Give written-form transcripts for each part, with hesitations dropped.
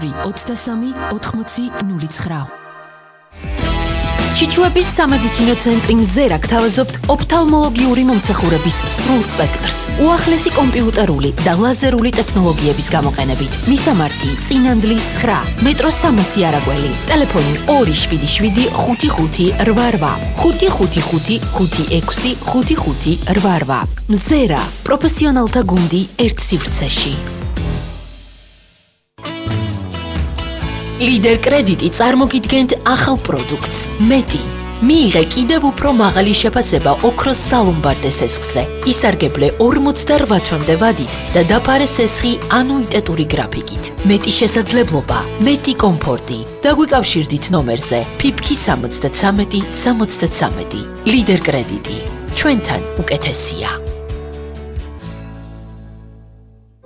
223 ჩიჩუების სამედიცინო ცენტრი მზერა გთავაზობთ ოფთალმოლოგიური მომსახურების სრულ სპექტრს, უახლესი კომპიუტერული და ლაზერული ტექნოლოგიების გამოყენებით. მისამართი: წინანდლის 9, მეტროს 300 არაგველი, ტელეფონი 277 55 88, 555 56 55 88. მზერა, პროფესიონალთა გუნდი ერთ სივრცეში. ლიდერ კრედიტი წარმოგიდგენთ ახალ პროდუქტს მეტი. მიიღე კიდევ უფრო მაღალი შეფასება ოქროს სალომბარდე სესხზე. ისარგებლე 48 თვემდე ვადით და დაფარე სესხი ანუიტეტური გრაფიკით. მეტი შესაძლებლობა, მეტი კომფორტი. დაგვიკავშირდით ნომერზე ფიფქი 73 73. ლიდერ კრედიტი. ჩვენთან უკეთესია.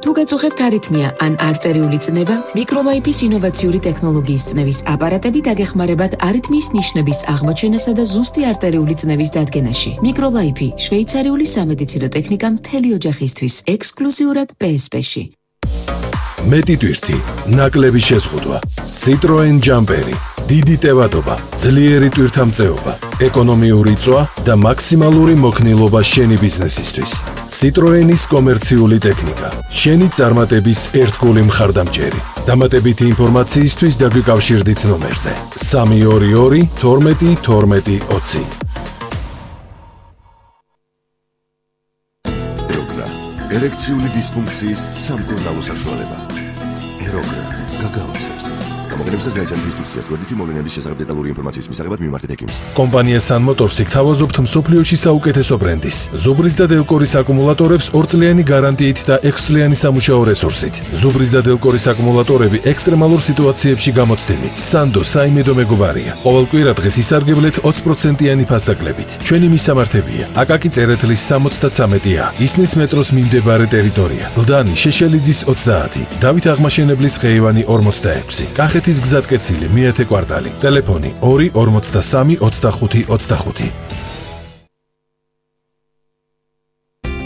თუ გაწუხებთ არითმია ან არტერიული წნევა, მიკროლაიფის ინოვაციური ტექნოლოგიის წნევის აპარატები დაგეხმარებათ არითმიის ნიშნების აღმოჩენასა და ზუსტი არტერიული წნევის დადგენაში. მიკროლაიფი შვეიცარიული სამედიცინო ტექნიკა მთელი ოჯახისთვის, ექსკლუზიურად PSP-ში. მეტი ტვირთი, ნაკლები შეზღუდვა, Citroen ჯამპერი, დიდი ტევადობა, ძლიერი ტვირთამწეობა, ეკონომიური წვა და მაქსიმალური მოქნილობა შენი ბიზნესისთვის. Citroen-ის კომერციული ტექნიკა, შენი წარმატების ერთგული მხარდამჭერი. დამატებითი ინფორმაციისთვის დაგვიკავშირდით ნომერზე 322 12 12 20. ერექციული დისფუნქციის სამკურნალო საშუალება. ეროგრა გაგაოცებს. გამოგონებისას გაიცანთ ინსტრუქციას, გვერდითი მოვლენების შესახებ დეტალური ინფორმაციის მისაღებად მიმართეთ ექიმს. კომპანია Sun Motors გთავაზობთ მსოფლიოში საუკეთესო ბრენდის. ზუბრის და დელკორის აკუმულატორებს 2 წლიანი გარანტიით და 6 წლიანი სამუშაო რესურსით. ზუბრის და დელკორის აკუმულატორები ექსტრემალურ სიტუაციებში გამოცდილი. Sando საიმედო მეგობარია. ყოველ კვირა დღეს ისარგებლეთ 20%-იანი ფასდაკლებით. ჩვენი მისამართებია: აკაკი წერეთლის 73A, ისნის მეტროს მიმდებარე ტერიტორია, გლდანი შეშელიძის 30, დავით აღმაშენებლის ხეივანი 46, კახეთის გზატკეცილი მეათე კვარტალი, ტელეფონი 2 43 25 25.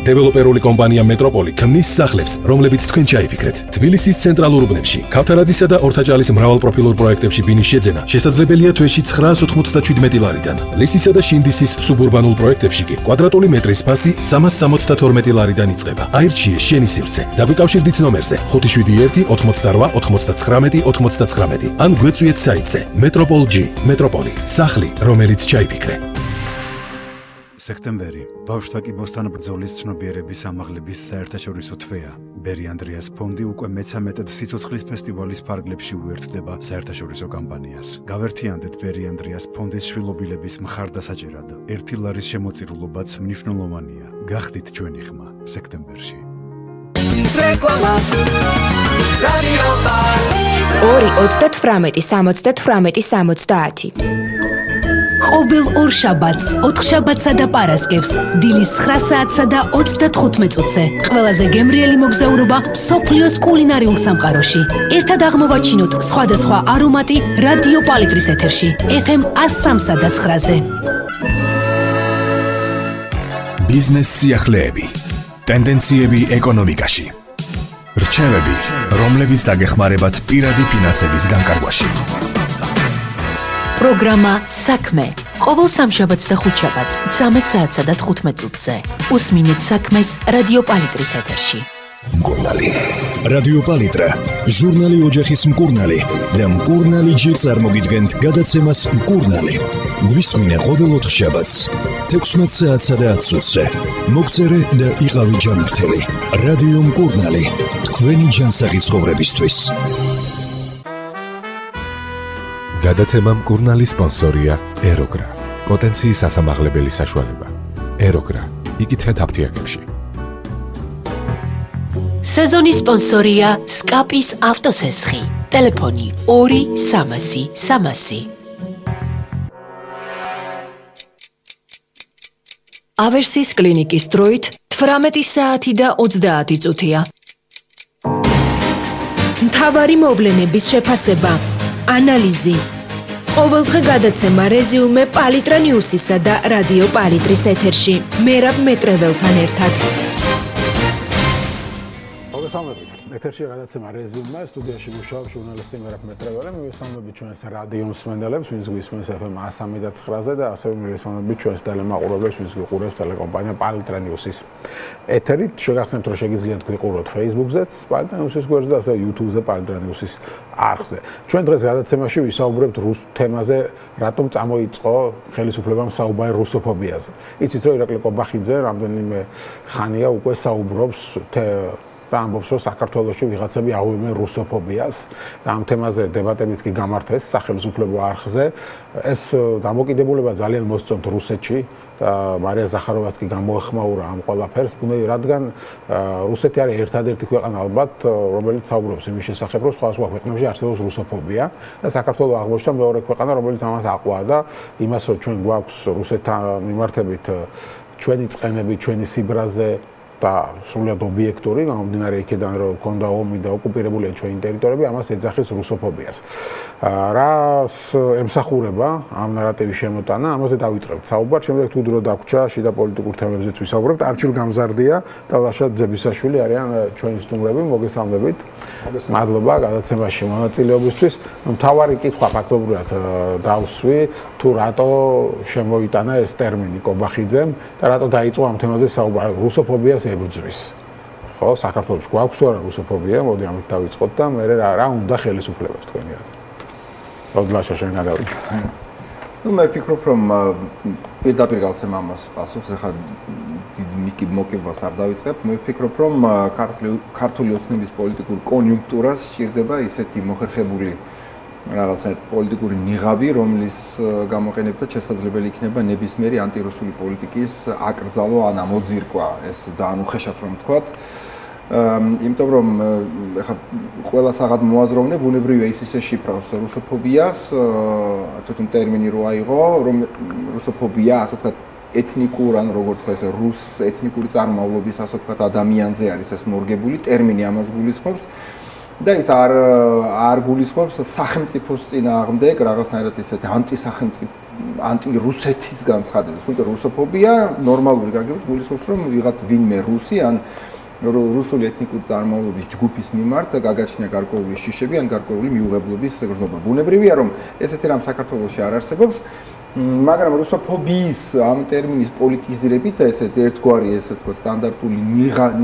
დეველოპერული კომპანია მეტროპოლი ქმნის სახლებს, რომლებიც თქვენ ჩაიფიქრეთ. თბილისის ცენტრალურ უბნებში, ქავთარაძისა და ორთაჭალის მრავალპროფილურ პროექტებში ბინის შეძენა შესაძლებელია თვეში 997 ლარიდან. ლისისა და შინდისის სუბურბანულ პროექტებში კი კვადრატული მეტრის ფასი 372 ლარიდან იწყება. აირჩიე შენი სივრცე. დაგვიკავშირდით ნომერზე 571 88 99 99 ან გვეწვიეთ საიტზე Metropol-G. მეტროპოლი, სახლი, რომელიც ჩაიფიქრე. სექტემბერი ბავშვთა კიბოსთან ბრძოლის ცნობიერების ამაღლების საერთაშორისო თვეა. ბერი ანდრიას ფონდი უკვე მე-13 სიცოცხლის ფესტივალის ფარგლებში უერთდება საერთაშორისო კამპანიას. გავერთიანდეთ ბერი ანდრიას ფონდის შვილობილების მხარდასაჭერად. 1 ლარის შემოწირულობაც მნიშვნელოვანია. გახდით ჩვენი ხმა სექტემბერში. რეკლამა რადიო 2 38 70 ყოველ ორ შაბათს, 4 შაბათსა და პარასკევს, დილის 9 საათსა და 35 წუთზე, ყველაზე გემრიელი მოგზაურობა მსოფლიოს კულინარიულ სამყაროში. ერთად აღმოვაჩინოთ სხვადასხვა არომატი რადიო პალიტრის ეთერში, FM 103-სა და 9-ზე. ბიზნეს სიახლეები, ტენდენციები ეკონომიკაში, რჩევები, რომლებიც დაგეხმარებათ პირადი ფინანსების განკარგვაში. პროგრამა საქმე ყოველ სამშაბათს და ხუთშაბათს 13 საათსა და 15 წუთზე. უსმინეთ საქმეს რადიო პალიტრის ეთერში. მკურნალი. რადიო პალიტრა, ჟურნალი ოჯახის მკურნალი და მკურნალი ჯერ წარმოგიდგენთ გადაცემას მკურნალი. გვისმინე ყოველ 4 შაბათს 16 საათსა და 10 წუთზე. მოგწერე და იყავი ჯანმრთელი. რადიო მკურნალი, თქვენი ჯანსაღი ცხოვრებისთვის. გადაცემა მკურნალი სპონსორია ეროგრა. პოტენციის ასამაღლებელი საშუალება. ეროგრა. იკითხეთ აფთიაქებში. სეზონის სპონსორია სკაპის ავტოსესხი. ტელეფონი 2 300 300. ავერსის კლინიკის დროით 18 საათი და 30 წუთია. მთავარი მოვლენების შეფასება, ანალიზი. ყოველდღე გადაცემა რეზიუმე პალიტრა ნიუსისა და რადიო პალიტრის ეთერში. მერაბ მეტრეველთან ერთად. მოგესალმებით. ეთერში გადაცემა რეზიუმე, სტუდიაში მუშაობს ჟურნალისტი მერაბ მეტრეველი. მივესალმებით ჩვენს რადიო მსმენელებს, ვინც გვისმენს FM 103-ზე და ასევე მივესალმებით ჩვენს ტელემაყურებლებს, ვინც გიყურებს ტელეკომპანია პალიტრა ნიუსის ეთერით. შეგახსენებთ, რომ შეგიძლიათ გვიყუროთ Facebook-ზეც, პალიტრა ნიუსის გვერდზე და ასევე YouTube-ზე პალიტრა ნიუსის არხზე. ჩვენ დღეს გადაცემაში ვისაუბრებთ რუს თემაზე, რატომ წამოიწყო ხელისუფლებამ საუბარი რუსოფობიაზე. იცით, რომ ირაკლი კობახიძე რამდენიმე ხანია უკვე საუბრობს და ამბობს, რომ საქართველოში ვიღაცები აღვივებენ რუსოფობიას და ამ თემაზე დებატებიც კი გამართეს სახელმწიფო არხზე. ეს დამოკიდებულება ძალიან მოსწონთ რუსეთში და მარია ზახაროვაც კი გამოეხმაურა ამ ყველაფერს, რადგან რუსეთი არის ერთადერთი ქვეყანა ალბათ, რომელიც საუბრობს იმის შესახებ, რომ სხვა ქვეყნებში არსებობს რუსოფობია და საქართველო აღმოჩნდა მეორე ქვეყანა, რომელიც ამას აყვაა და იმას, რომ ჩვენ გვაქვს რუსეთთან მიმართებით ჩვენი წყენები, ჩვენი სიბრაზე და სრულად ობიექტური, გამომდინარე იქიდან, რომ ქონდა ომი და ოკუპირებულია ჩვენი ტერიტორიები, ამას ეძახის რუსოფობიას. რას ემსახურება ამ ნარატივის შემოტანა, ამაზე დავიწყებთ საუბარს, შემდეგ თუ დრო დაგვრჩა შიდა პოლიტიკურ თემებზეც ვისაუბრებთ. არჩილ გამზარდია და ლაშა ძებისაშვილი არიან ჩვენი სტუმრები, მოგესალმებით. მადლობა გადაცემაში მონაწილეობისთვის. მთავარი კითხვა ფაქტობრივად დავსვი, თუ რატო შემოიტანა ეს ტერმინი კობახიძემ და რატო დაიწყო ამ თემაზე საუბარი რუსოფობიას ებრძვის. ხო, საქართველოს გვაქვს თუ არა რუსოფობია, მოდი ამით დავიწყოთ და მე რა უნდა ხელისუფლებას თქვენი აზრით. როდლაშა შენ გადავიდე. მე ვფიქრობ, რომ პირდაპირ გავცემ ამას პასუხს, ახლა დიდი მოკებას არ დავიწყებ. მე ვფიქრობ, რომ ქართული ოცნების პოლიტიკურ კონიუნქტურას სჭირდება ისეთი მოხერხებული რაღაცა პოლიტიკური ნიღაბი, რომლის გამოყენებითაც შესაძლებელი იქნება ნებისმიერი ანტირუსული პოლიტიკის აკრძალვა ან ამოძირკვა. ეს ძალიან უხეშად რომ ვთქვათ. იმიტომ რომ ეხლა ყველა საღად მოაზროვნე ბუნებრივია ის ისე შიფრავს რუსოფობიას, თვითონ ტერმინი რო აიღო, რომ რუსოფობია, ასე ვთქვათ, ეთნიკურ ან როგორ თქვა ეს რუს ეთნიკური წარმომავლობის, ასე ვთქვათ, ადამიანზე არის ეს მორგებული ტერმინი, ამას გულისხმობს. და ის არ გულისხმობს სახელმწიფოს წინააღმდეგ რაღაცნაირად ისეთი ანტისახელმწიფო ანტირუსეთის განცხადებას. თუმცა რუსოფობია ნორმალური გაგებით გულისხმობს, რომ ვიღაც ვინმე რუსი ან რუსული ეთნიკური წარმომავლობის ჯგუფის მიმართ გაგაჩნია გარკვეული შიშები ან გარკვეული მიუღებლობის გრძნობა. ბუნებრივია, რომ ესეთი რამ საქართველოში არ არსებობს, მაგრამ რუსოფობიის ამ ტერმინის პოლიტიზირებით და ესეთ ერთგვარი ესე თქვა სტანდარტული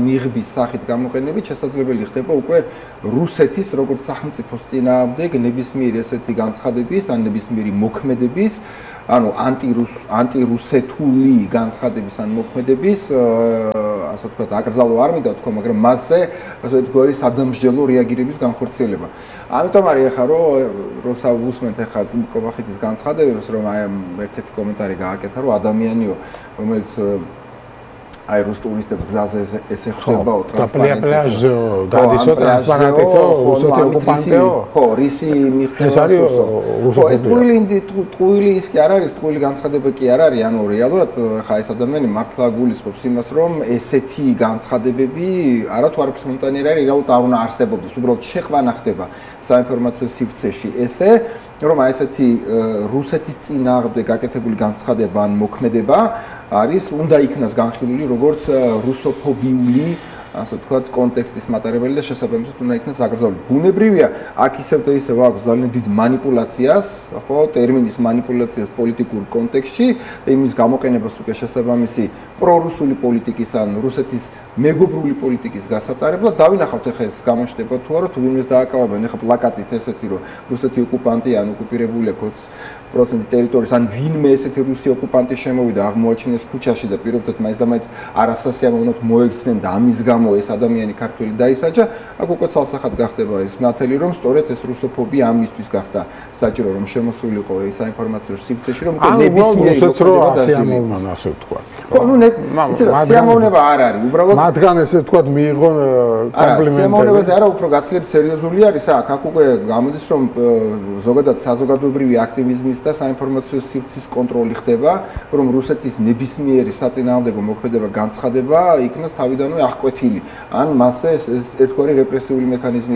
ნიღბის სახით გამოყენებით შესაძლებელი ხდება უკვე რუსეთის როგორც სახელმწიფოს წინააღმდეგ ნებისმიერი ესეთი განცხადების ან ნებისმიერი მოქმედების ანუ ანტირუსეთული განცხადების ან მოქმედების ასე ვთქვათ აკრძალვა არ მინდა თქვა, მაგრამ მასზე ერთგვარი სადამსჯელო რეაგირების განხორციელება. ამიტომ არის ახლა რომ უსმენთ ახლა კობახიძის განცხადებებს, რომ აი ერთ-ერთი კომენტარი გააკეთა, რომ ადამიანიო, რომელიც აი რუს ტურისტებს გზაზე ესე ხდებაო ტრანსპარენტი. დადისო ტრანსპარენტო, რუსეთი ოკუპანტეო. ხო, რისი მიღწევასო. ხო, ეს ტყუილი ის კი არ არის, ტყუილი განცხადება კი არ არის, ანუ რეალურად ხა ეს ადამიანი მართლა გულისხმობს იმას, რომ ესეთი განცხადებები არა თუ არის სპონტანიერი არის, რაუთ არ უნდა არსებობდეს, უბრალოდ შეყვანა ხდება საინფორმაციო სივრცეში ესე, რომ აი ესეთი რუსეთის წინააღმდეგ გაკეთებული განცხადება ან მოქმედება არის უნდა იქნას განხილული როგორც რუსოფობიული ასე ვთქვათ კონტექსტის მატარებელი და შესაბამისად უნდა იქნას აკრძალული. ბუნებრივია, აქ ისევ და ისევ აქვს ძალიან დიდ манипуляციას, ხო, ტერმინის манипуляციას პოლიტიკურ კონტექსტში და იმის გამოყენებას უკვე შესაბამისი პრორუსული პოლიტიკის ან რუსეთის მეგობრული პოლიტიკის გასატარებლად დავინახავთ ახლა ეს გამოჩნდება თუ არა თუ ვინმეს დააკავებენ ახლა პლაკატით ესეთი რომ რუსეთი ოკუპანტია ან ოკუპირებულია 20% ტერიტორიის ან ვინმე ესეთი რუსი ოკუპანტი შემოვიდა აღმოაჩინეს ქუჩაში და პირობდათ მაინც და მაინც არასასიამოვნოდ მოექცნენ და ამის გამო ეს ადამიანი ქართველი დაისაჯა, აქ უკვე ცალსახად გახდება ეს ნათელი რომ სწორედ ეს რუსოფობია ამისთვის გახდა საჭირო რომ შემოსულიყო ეს საინფორმაციო სივრცეში რომ ნებისმიერი სიამოვნებაა ასე ვთქვა. ხო, ნუ სიამოვნება არ არის, უბრალოდ მათგან ესე ვთქვათ მიიღო კომპლიმენტები. სიამოვნებაზე არა, უფრო გაცილებით სერიოზული არის აქ უკვე გამოდის რომ ზოგადად საზოგადოებრივი აქტივიზმის და საინფორმაციო სივრცის კონტროლი ხდება, რომ რუსეთის ნებისმიერი საწინააღმდეგო მოქმედება განცხადება იქნას თავიდანვე აღკვეთილი. ან მასზე ერთგვარი რეპრესიული მექანიზმი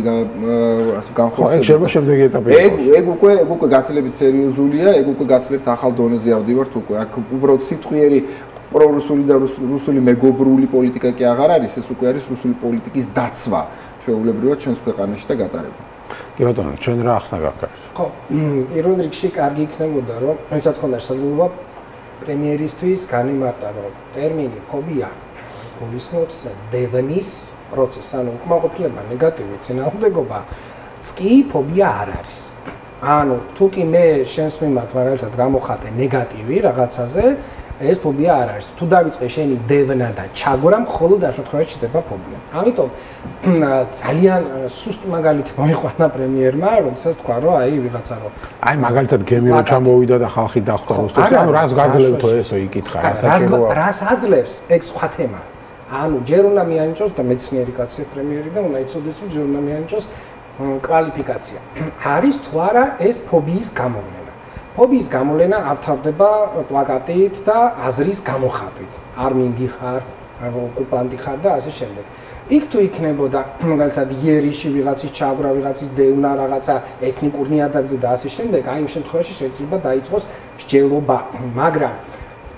ასე განხორციელდება. ეგ შეიძლება შემდეგი ეტაპი იყოს. ეგ უკვე გაცილებით სერიოზულია, ეგ უკვე გაცილებით ახალ დონეზე ავდივართ უკვე. აქ უბრალოდ სიტყვიერი პრორუსული და რუსული მეგობრული პოლიტიკა კი აღარ არის, ეს უკვე არის რუსული პოლიტიკის დაცვა ჩვეულებრივად ჩვენს ქვეყანაში და გატარება. კი ბატონო, ჩვენ რა ახსნა გაქვს? ხო, პირველ რიგში კარგი იქნებოდა, რომ ვისაც ხონდა შესაძლებლობა პრემიერისთვის განიმარტა, რომ ტერმინი ფობია გულისხმობს დევნის პროცესს, ანუ უკმაყოფილება, ნეგატივი წინააღმდეგობა, კი ფობია არ არის. ანუ თუ კი მე შენს მიმართ მაგალითად გამოხატე ნეგატივი რაღაცაზე, ეს ფობია არ არის. თუ დავიწყე შენი დევნა და ჩაგვრა, მხოლოდ ამ შემთხვევაში ჩდება ფობია. ამიტომ ძალიან სუსტ მაგალითი მოიყვანა პრემიერმა, როდესაც თქვა, რომ აი ვიღაცა რომ აი მაგალითად გემი რო ჩამოვიდა და ხალხი დახვდა რუსეთში, ანუ რას გაძლევთო ესო იკითხა, რა საჭიროა. რას აძლევს, ეგ სხვა თემა. ანუ ჯერ უნდა მიანიჭოს და მეცნიერი კაცია პრემიერი და უნდა იცოდეს, რომ ჯერ უნდა მიანიჭოს კვალიფიკაცია. არის თუ არა ეს ფობიის გამოვლენა. ფობიის გამოვლენა ავთავდება პლაკატით და აზრის გამოხატვით. არ მინდიხარ, ოკუპანტი ხარ და ასე შემდეგ. იქ თუ იქნებოდა მაგალითად იერიში ვიღაცის ჩაგვრა, ვიღაცის დევნა, რაღაცა ეთნიკურ ნიადაგზე და ასე შემდეგ, აი იმ შემთხვევაში შეიძლება დაიწყოს მსჯელობა, მაგრამ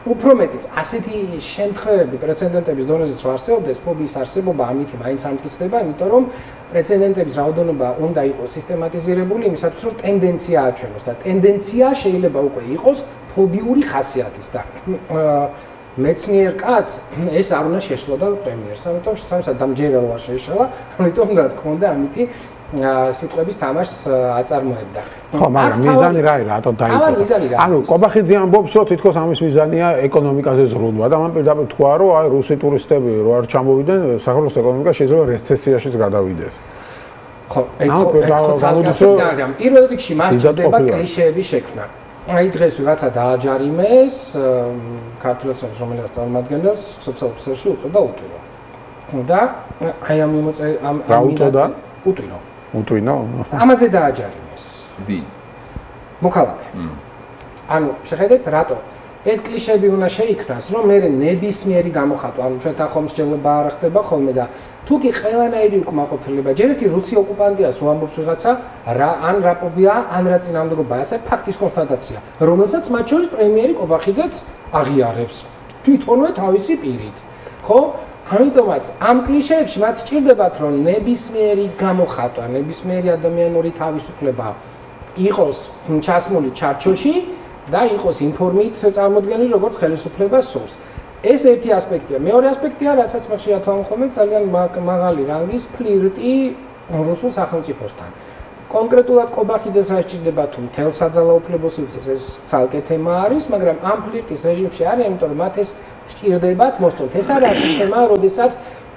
უფრო მეტიც ასეთი შემთხვევები პრეცედენტების დონეზეც ვარსებობდეს, ფობიის არსებობა ამითი მაინც ამტკიცდება, იმიტომ რომ პრეცედენტების რაოდენობა უნდა იყოს სისტემატიზირებული იმისათვის, რომ ტენდენცია აჩვენოს და ტენდენცია შეიძლება უკვე იყოს ფობიური ხასიათის და მეცნიერ კაცს ეს არ უნდა შეშლოდა პრემიერს, ამიტომ შესაბამისად დამჯერა რო არ შეეშალა, ამიტომ რა თქმა უნდა ამითი სიტყვების თამაშს აწარმოებდა. ხო, მაგრამ მიზანი რა არის, რატო დაიწყეს? ანუ კობახიძე ამბობს, რომ თითქოს ამის მიზანია ეკონომიკაზე ზრუნვა და მან პირდაპირ თქვა, რომ აი რუსი ტურისტები რო არ ჩამოვიდნენ, საქართველოს ეკონომიკა შეიძლება რეცესიაშიც გადავიდეს. ხო, ეგ პირველ რიგში მას ჭირდება კლიშეების შექმნა. აი დღეს ვიღაცა დააჯარიმეს ქართულებს რომელიც წარმოადგენს სოციალურ სფეროში უწოდა უტვინო. და აი ამ უწოდა უტვინო. უტვინო? ამაზე დააჯარიმეს. ვინ? მოქალაქე. ანუ შეხედეთ რატო ეს კლიშეები უნდა შეიქმნას, რომ მე ნებისმიერი გამოხატვა, ანუ ჩვენთან ხომ მსჯელობა არ ხდება ხოლმე და თუ კი ყველანაირი უკმაყოფილება, ჯერ ერთი რუსი ოკუპანტიას რო ამბობს ვიღაცა, რა ან რა ფობია, ან რა წინააღმდეგობაა, ეს ფაქტის კონსტატაცია, რომელსაც მათ შორის პრემიერი კობახიძეც აღიარებს თვითონვე თავისი პირით. ხო? ამიტომაც ამ კლიშეებში მათ სჭირდებათ, რომ ნებისმიერი გამოხატვა, ნებისმიერი ადამიანური თავისუფლება იყოს ჩასმული ჩარჩოში და იყოს ინფორმით წარმოდგენილი, როგორც ხელისუფლებას სურს. ეს ერთი ასპექტია. მეორე ასპექტია, რასაც მე ხშირად ვამხომებ, ძალიან მაღალი რანგის ფლირტი რუსულ სახელმწიფოსთან. კონკრეტულად კობახიძეს რა სჭირდება თუ მთელ საძალაუფლებას უწევს, ეს ცალკე თემა არის, მაგრამ ამ ფლირტის რეჟიმში არის, იმიტომ რომ მათ ეს სჭირდებათ მოსწონთ. ეს არ არის თემა, როდესაც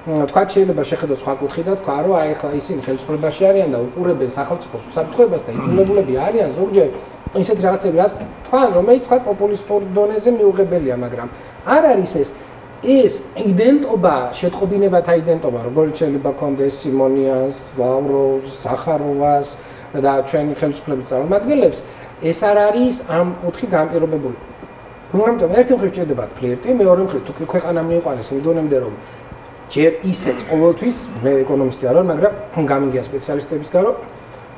თქვა შეიძლება შეხედოს სხვა კუთხით და თქვა, რომ აი ახლა ისინი ხელისუფლებაში არიან და უყურებენ სახელმწიფოს უსაფრთხოებას და იძულებულები არიან ზოგჯერ ისეთ რაღაცები, რაც თქვენ რომელიც თქვა პოპულისტურ დონეზე მიუღებელია, მაგრამ არ არის ეს იდენტობა, შეტყობინებათა იდენტობა, როგორც შეიძლება კონდეს სიმონიანს, ლავროვს, სახაროვას და ჩვენი ხელისუფლების წარმომადგენლებს, ეს არ არის ამ კუთხით განპირობებული. ამიტომ ერთი მხრივ სჭირდებათ ფლირტი, მეორე მხრივ თუ ქვეყანა მიიყვანეს იმ დონემდე, რომ ჯერ ისეც ყოველთვის მე ეკონომისტი არ ვარ, მაგრამ გამიგია სპეციალისტებისგან, რომ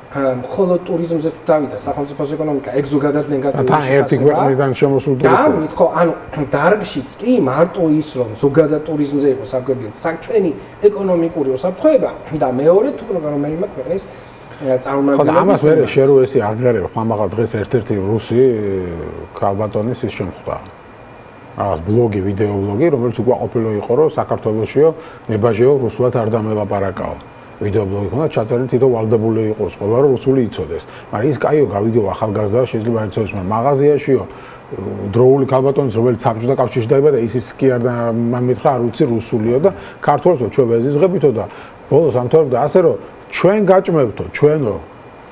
მხოლოდ ტურიზმზე თუ დავიდა სახელმწიფოს ეკონომიკა ეგ ზოგადად ნეგატიური თან ერთი ქვეყნიდან შემოსულ ტურისტები. და ხო, ანუ დარგშიც კი მარტო ის რომ ზოგადად ტურიზმზე იყოს საკვებია, საქმენი ეკონომიკური უსაფრთხოება და მეორე თუ რომელიმე ქვეყნის წარმომადგენელი. ხო, ამას მე შერო ესი აღიარება, ხმამაღლა დღეს ერთ-ერთი რუსი ქალბატონის ის შემხვდა. რაღაც ბლოგი, ვიდეო ბლოგი, რომელიც უკვე ყოფილი იყო, რომ საქართველოსიო მებაჟეო რუსულად არ დამელაპარაკაო. ვიდეო ბლოგი ხონდა ჩაწერილი თვითონ ვალდებული იყოს ყველა რომ რუსული იცოდეს. მაგრამ ის კაიო გავიდეო ახალგაზრდა შეიძლება იცოდეს, მაგრამ მაღაზიაშიო დროული ქალბატონის რომელიც საბჭოთა კავშირში დაიბადა, ისიც კი არ მამითხრა არ უცი რუსულიო და ქართველსო ჩვენ ვეზიზღებითო და ბოლოს ამთავრებდა ასე რომ ჩვენ გაჭმევთო, ჩვენო,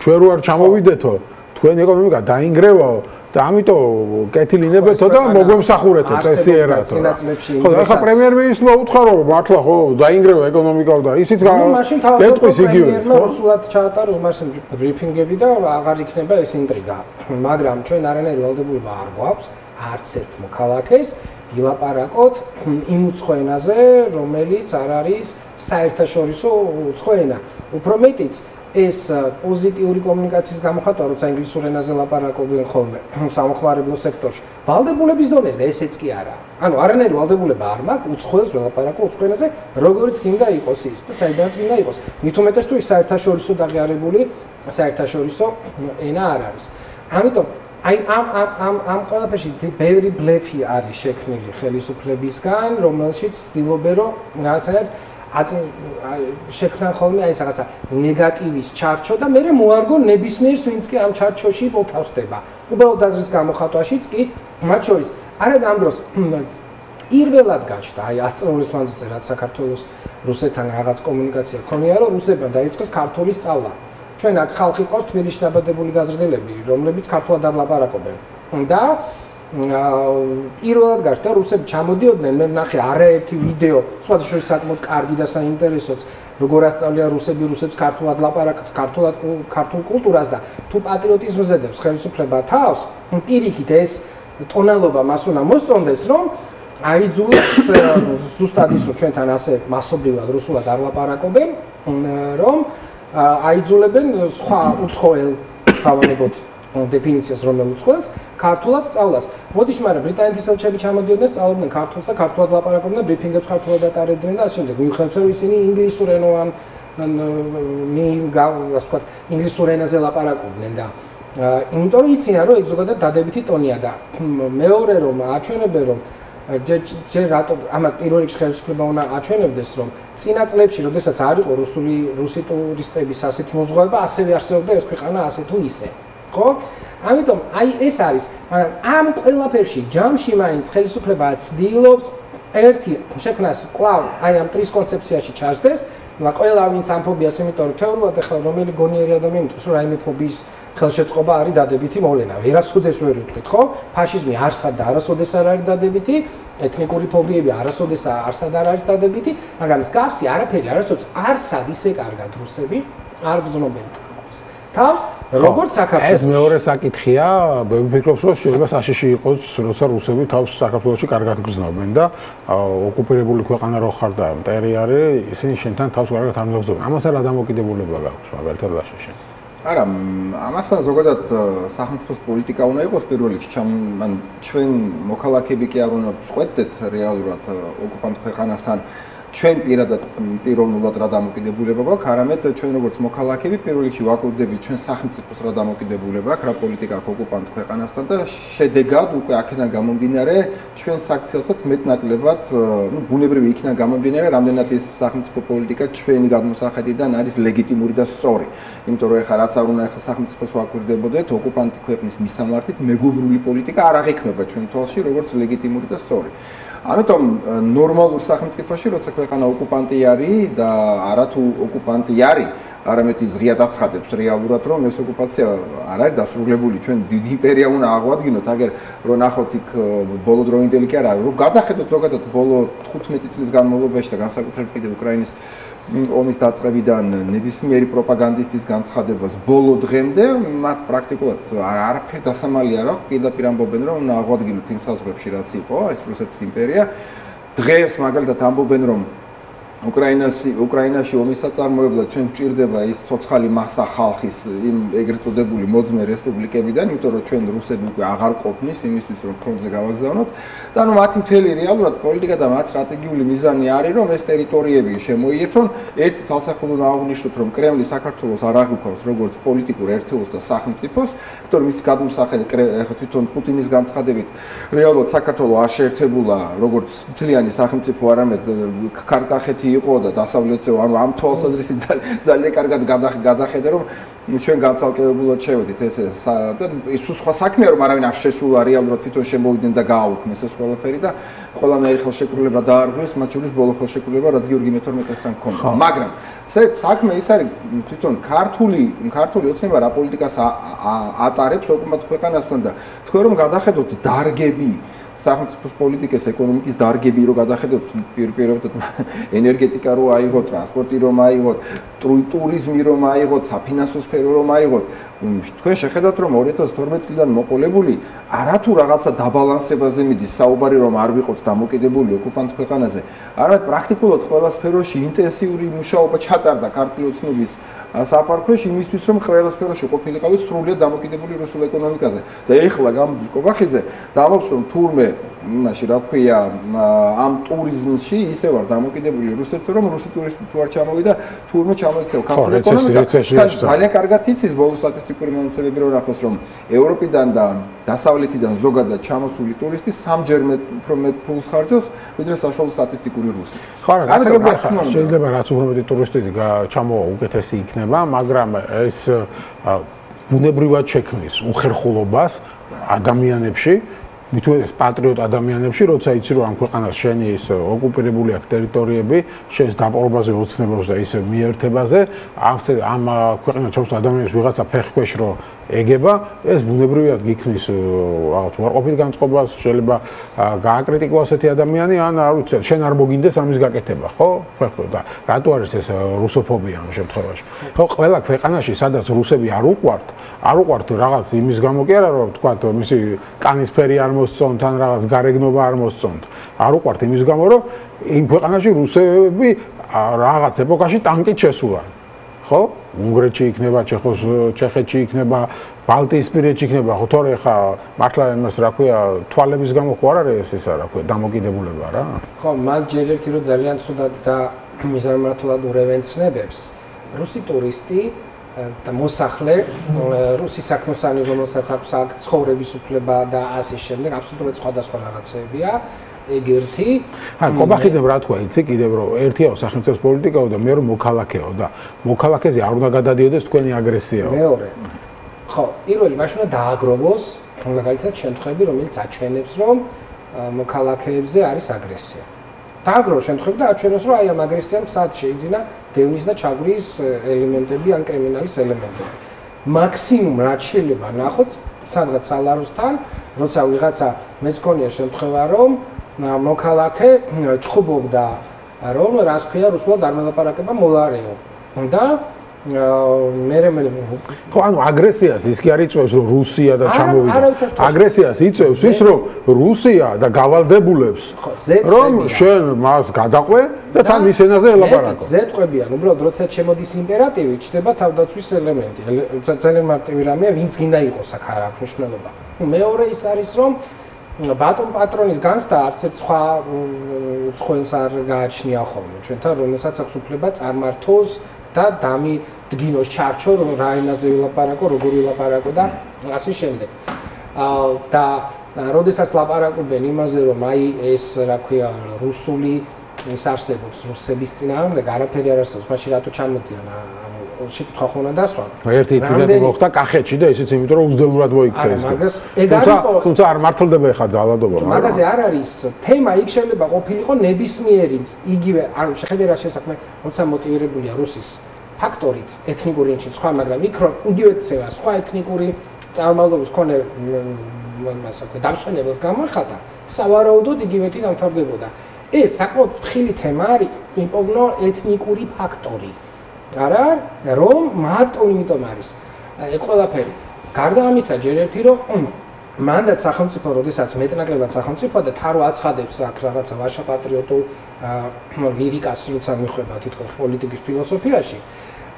ჩვენ რო არ ჩამოვიდეთო, თქვენ ეკონომიკა დაინგრევაო და ამიტომ კეთილინებეთო და მოგვემსახურეთო წესიერათო. ხო, ახლა პრემიერ-მინისტრმა უთხრა რომ მართლა ხო დაინგრევა ეკონომიკა და ისიც გეტყვის იგივე. რუსულად ჩაატაროს მაშინ ბრიფინგები და აღარ იქნება ეს ინტრიგა. მაგრამ ჩვენ არანაირი ვალდებულება არ გვაქვს არც ერთ მოქალაქეს ილაპარაკოთ იმ უცხო ენაზე, რომელიც არ არის საერთაშორისო უცხო ენა. უფრო მეტიც ეს პოზიტიური კომუნიკაციის გამოხატვა, როცა ინგლისურ ენაზე ლაპარაკობენ ხოლმე სამხმარებლო სექტორში, ვალდებულების დონეზე ესეც კი არაა. ანუ არანაირი ვალდებულება არ მაქვს უცხოელს ველაპარაკო უცხო ენაზე, როგორიც გინდა იყოს ის და საიდანაც გინდა იყოს. მით უმეტეს თუ ის საერთაშორისო დაღიარებული საერთაშორისო ენა არ არის. ამიტომ აი ამ ყველაფერში ბევრი ბლეფი არის შექმნილი ხელისუფლებისგან, რომელშიც ცდილობენ რომ რაღაცნაირად შექმნან ხოლმე აი რაღაცა ნეგატივის ჩარჩო და მე მოარგო ნებისმიერს ვინც კი ამ ჩარჩოში მოთავსდება. უბრალოდ აზრის გამოხატვაშიც კი მათ შორის არა ამ დროს პირველად გაჩნდა აი 10 წლის მანძილზე რაც საქართველოს რუსეთთან რაღაც კომუნიკაცია ქონია რომ რუსებმა დაიწყეს ქართული სწავლა. ჩვენ აქ ხალხი ყავს თბილისში დაბადებული გაზრდელები, რომლებიც ქართულად არ ლაპარაკობენ. და პირველად გაჩნდა რუსები ჩამოდიოდნენ, მე ვნახე არაერთი ვიდეო, სხვადასხვა საკმაოდ კარგი და საინტერესოც, როგორ ასწავლია რუსები რუსებს ქართულად ლაპარაკს, ქართულ კულტურას და თუ პატრიოტიზმზე დებს ხელისუფლება თავს, პირიქით ეს ტონალობა მას უნდა მოსწონდეს, რომ აიძულებს ზუსტად ის რომ ჩვენთან ასე მასობრივად რუსულად არ ლაპარაკობენ, რომ აიძულებენ სხვა უცხოელ თავანებოთ დეფინიციას რომელ უცხოელს ქართულად სწავლას. მოდიშ მაგრამ ბრიტანეთის ელჩები ჩამოდიოდნენ სწავლობდნენ ქართულს და ქართულად ლაპარაკობდნენ, ბრიფინგებს ქართულად ატარებდნენ და ასე შემდეგ. მიუხედავად რომ ისინი ინგლისურენოვან ასე ვთქვათ ინგლისურ ენაზე ლაპარაკობდნენ და იმიტომ რომ იციან რომ ეგ ზოგადად დადებითი ტონია და მეორე რომ აჩვენებენ რომ ჯერ რატო ამათ პირველ რიგში ხელისუფლება უნდა აჩვენებდეს რომ წინა წლებში როდესაც არ იყო რუსი ტურისტების ასეთი მოზღვავება ასევე არსებობდა ეს ქვეყანა ასე თუ ისე ხო? ამიტომ აი ეს არის, მაგრამ ამ ყველაფერში ჯამში მაინც ხელისუფლება ცდილობს ერთი შექმნას კვლავ აი ამ ტრიის კონცეფციაში ჩაჯდეს, და ყველა ვინც ამ ფობიას იმიტომ რომ თეორიულად ახლა რომელი გონიერი ადამიანი მითხრს რომ რაიმე ფობიის ხელშეწყობა არის დადებითი მოვლენა. ვერასოდეს ვერ ვიტყვით, ხო? ფაშიზმი არსად და არასოდეს არ არის დადებითი, ეთნიკური ფობიები არასოდეს არსად არ არის დადებითი, მაგრამ მსგავსი არაფერი არასოდეს არსად ისე კარგად რუსები არ გრძნობენ თავს, როგორც საქართველოს. ეს მეორე საკითხია, მე ვფიქრობ, რომ შეიძლება საშიში იყოს, როცა რუსები თავს საქართველოში კარგად გრძნობენ და ოკუპირებული ქვეყანა რო ხარ და მტერი არის, ისინი შენთან თავს კარგად არ მოგზაურობენ. ამასთან რა დამოკიდებულება გაქვს მაგალითად ლაშაში? არა, ამასთან ზოგადად სახელმწიფოს პოლიტიკა უნდა იყოს პირველ რიგში, ან ჩვენ მოქალაქეები კი არ უნდა წყვეტდეთ რეალურად ოკუპანტ ქვეყანასთან ჩვენ პიროვნულად რა დამოკიდებულება გვაქვს, არამედ ჩვენ როგორც მოქალაქეები პირველ რიგში ვაკვირდებით ჩვენ სახელმწიფოს რა დამოკიდებულება აქვს, რა პოლიტიკა აქვს ოკუპანტ ქვეყანასთან და შედეგად უკვე აქედან გამომდინარე ჩვენ საქციელსაც მეტნაკლებად, ბუნებრივი იქიდან გამომდინარე, რამდენად ეს სახელმწიფო პოლიტიკა ჩვენი გადმოსახედიდან არის ლეგიტიმური და სწორი. იმიტომ რომ ეხლა რაც არ უნდა ეხლა სახელმწიფოს ვაკვირდებოდეთ, ოკუპანტი ქვეყნის მისამართით მეგობრული პოლიტიკა არ აღიქმება ჩვენ თვალში როგორც ლეგიტიმური და სწორი. ამიტომ ნორმალურ სახელმწიფოში, როცა ქვეყანა ოკუპანტი არის და არათუ ოკუპანტი არის, არამედ ის ღიად აცხადებს რეალურად, რომ ეს ოკუპაცია არ არის დასრულებული, ჩვენ დიდი იმპერია უნდა აღვადგინოთ, აგერ რო ნახოთ იქ ბოლოდროინდელი კი არა, რო გადახედოთ ზოგადად ბოლო 15 წლის განმავლობაში და განსაკუთრებით კიდე უკრაინის ომის დაწყებიდან ნებისმიერი პროპაგანდისტის განცხადებას ბოლო დღემდე მათ პრაქტიკულად არაფერი დასამალი არ აქვს, პირდაპირ ამბობენ რომ უნდა აღვადგინოთ იმ საზღვრებში რაც იყო ეს რუსეთის იმპერია. დღეს მაგალითად ამბობენ რომ უკრაინაში ომის საწარმოებლად ჩვენ გვჭირდება ის ცოცხალი მასა ხალხის იმ ეგრეთ წოდებული მოძმე რესპუბლიკებიდან, იმიტომ რომ ჩვენ რუსები უკვე აღარ ყოფნის იმისთვის რომ ფრონტზე გავაგზავნოთ და ანუ მათი მთელი რეალურად პოლიტიკა და მათ სტრატეგიული მიზანი არის რომ ეს ტერიტორიები შემოიერთონ. ერთი ცალსახელო აღვნიშნოთ რომ კრემლი საქართველოს არ აღიქვავს როგორც პოლიტიკურ ერთეულს და სახელმწიფოს, იმიტომ რომ ის გადმოსახედი თვითონ პუტინის განცხადებით რეალურად საქართველო არ შეერთებულა როგორც მთლიანი სახელმწიფო, არამედ ქართახეთი იყო და დასავლეთზე ამ თვალსაზრისით ძალიან კარგად გადახედა რომ ჩვენ განცალკევებულად შევედით ეს და ის სხვა საქმეა რომ არავინ არ შესულა რეალურად თვითონ შემოვიდნენ და გააუქმეს ეს ყველაფერი და ყველანაირი ხელშეკრულება დაარღვიეს, მათ შორის ბოლო ხელშეკრულება რაც გიორგი მე-12-თან ჰქონდა. მაგრამ საქმე ის არის თვითონ ქართული ოცნება რა პოლიტიკას ატარებს ოკუპანტ ქვეყანასთან და თქვენ რომ გადახედოთ დარგები სახელმწიფოს პოლიტიკის ეკონომიკის დარგები რო გადახედოთ პირობითად ენერგეტიკა რო აიღოთ, ტრანსპორტი რომ აიღოთ, ტურიზმი რომ აიღოთ, საფინანსო სფერო რომ აიღოთ, თქვენ შეხედავთ რომ 2012 წლიდან მოყოლებული არათუ რაღაცა დაბალანსებაზე მიდის საუბარი რომ არ ვიყოთ დამოკიდებული ოკუპანტ ქვეყანაზე, არამედ პრაქტიკულად ყველა სფეროში ინტენსიური მუშაობა ჩატარდა ქართული ოცნების საფარქვეში იმისთვის რომ ყველა სფეროში ყოფილიყავით სრულიად დამოკიდებული რუსულ ეკონომიკაზე და ეხლა გამოდის კობახიძე დამობს რომ თურმე იმაში რა ქვია ამ ტურიზმში ისე ვარ დამოკიდებული რუსეთზე რომ რუსი ტურისტი თუ არ ჩამოვიდა თურმე ჩამოიქცევა ქართული ეკონომიკა ძალიან კარგად იცის ბოლო სტატისტიკური მონაცემები რომ ნახოს რომ ევროპიდან და დასავლეთიდან ზოგადად ჩამოსული ტურისტი სამჯერ უფრო მეტ ფულს ხარჯავს ვიდრე საშუალო სტატისტიკური რუსი. ხო რა, შეიძლება რაც უფრო მეტი ტურისტი ჩამოვა უკეთესი იქნება, მაგრამ ეს ბუნებრივად შექმნის უხერხულობას ადამიანებში მithumetes patriot ადამიანებში, როცა იცი რომ ამ ქვეყანას შენი ის ოკუპირებული აქვს ტერიტორიები, შენს დაპყრობაზე ოცნებობს და ისე მიერთებაზე, ამ ქვეყანაში ჩამოსულ ადამიანებს ვიღაცა ფეხქვეშ რო ეგება, ეს ბუნებრივად გიქმნის რაღაც უარყოფით განწყობას, შეიძლება გააკრიტიკოს ასეთი ადამიანი, ან არ ვიცი, შენ არ მოგინდეს ამის გაკეთება, ხო? ხო და რატო არის ეს რუსოფობია ამ შემთხვევაში? ხო, ყველა ქვეყანაში, სადაც რუსები არ უყვართ რაღაც იმის გამო კი არა, რომ თქვა მისი კანისფერი არ მოსწონთ, ან რაღაც გარეგნობა არ მოსწონთ. არ უყვართ იმის გამო, რომ იმ ქვეყანაში რუსები რაღაც ეპოქაში ტანკით შესულან. ხო? უნგრეთში იქნება, ჩეხეთში იქნება, ბალტიისპირეთში იქნება, ხო თორე ხა მართლა იმას რა ქვია, თვალების გამო ხო არ არის ეს რა ქვია, დამოკიდებულება რა? ხო, მაგ ჯერ ერთი რომ ძალიან ცუდად და მიზანმართულად ურევენცნებებს, რუსი ტურისტი და მოსახლე, რუსი საქმოსანი, რომელსაც აქვს აქ ცხოვრების უფლება და ასე შემდეგ, აბსოლუტურად სხვადასხვა რაღაცებია. ეგ ერთი. კობახიძემ რა თქვა, იცი კიდევ რომ ერთია სახელმწიფოს პოლიტიკაო და მეორე მოქალაქეო და მოქალაქეზე არ უნდა გადადიოდეს თქვენი აგრესიაო. მეორე. ხო, პირველი მაშინ უნდა დააგროვოს მაგალითად შემთხვევები, რომელიც აჩვენებს, რომ მოქალაქეებზე არის აგრესია. დააგროვოს შემთხვევები და აჩვენოს, რომ აი ამ აგრესიამ სად შეიძინა დევნის და ჩაგვრის ელემენტები ან კრიმინალის ელემენტები. მაქსიმუმ რაც შეიძლება ნახოთ სადღაც სალაროსთან, როცა ვიღაცა მეც გქონია შემთხვევა, რომ მოქალაქე ჭხუბობდა რომ რას ქვია რუსულად არ მელაპარაკება მოლარეო და მე ხო ანუ აგრესიას ის კი არ იწევს რომ რუსია და ჩამოვიდა აგრესიას იწევს ის რომ რუსია და გავალდებულებს რომ შენ მას გადაყვე და თან ის ენაზე ელაპარაკო ზეთყვებიან უბრალოდ როცა შემოდის იმპერატივი ჩდება თავდაცვის ელემენტი ძალიან მარტივი რამეა ვინც გინდა იყოს აქ არ აქვს მნიშვნელობა მეორე ის არის რომ ბატონ პატრონის განცდა არც ერთ სხვა უცხოელს არ გააჩნია ხოლმე ჩვენთან რომელსაც აქვს უფლება წარმართოს და დამიდგინოს ჩარჩო რომ რა ენაზე ვილაპარაკო, როგორ ვილაპარაკო და ასე შემდეგ. და როდესაც ლაპარაკობენ იმაზე რომ აი ეს რა ქვია რუსული ის არსებობს რუსების წინააღმდეგ არაფერი არ არსებობს, მაშინ რატო ჩამოდიან შეკითხვა ხო უნდა დასვა. ერთი ინციდენტი მოხდა კახეთში და ისიც იმიტომ რომ უძდელურად მოიქცა ეს. თუმცა არ მართლდება ხა ძალადობა. მაგაზე არ არის თემა, იქ შეიძლება ყოფილიყო ნებისმიერი იგივე ანუ შეხედე რა შესაქმე, როცა მოტივირებულია რუსის ფაქტორით, ეთნიკური ინჩი სხვა, მაგრამ იქ რომ იგივე ცევა სხვა ეთნიკური წარმომავლობის მქონე ასე ვთქვათ, დამსვენებელს გამოეხატა, სავარაუდოდ იგივეთი დამთავრდებოდა. ეს საკმაოდ ფრთხილი თემა არის, იმპოვნო ეთნიკური ფაქტორი. არა, რომ მარტო იმიტომ არის. ეგ ყველაფერი. გარდა ამისა, ჯერ ერთი რომ მანდაც სახელმწიფო, როდესაც მეტნაკლებად სახელმწიფო და თარო აცხადებს აქ რაღაცა ვაშა პატრიოტულ ლირიკას, როცა მიხვება თითქოს პოლიტიკის ფილოსოფიაში,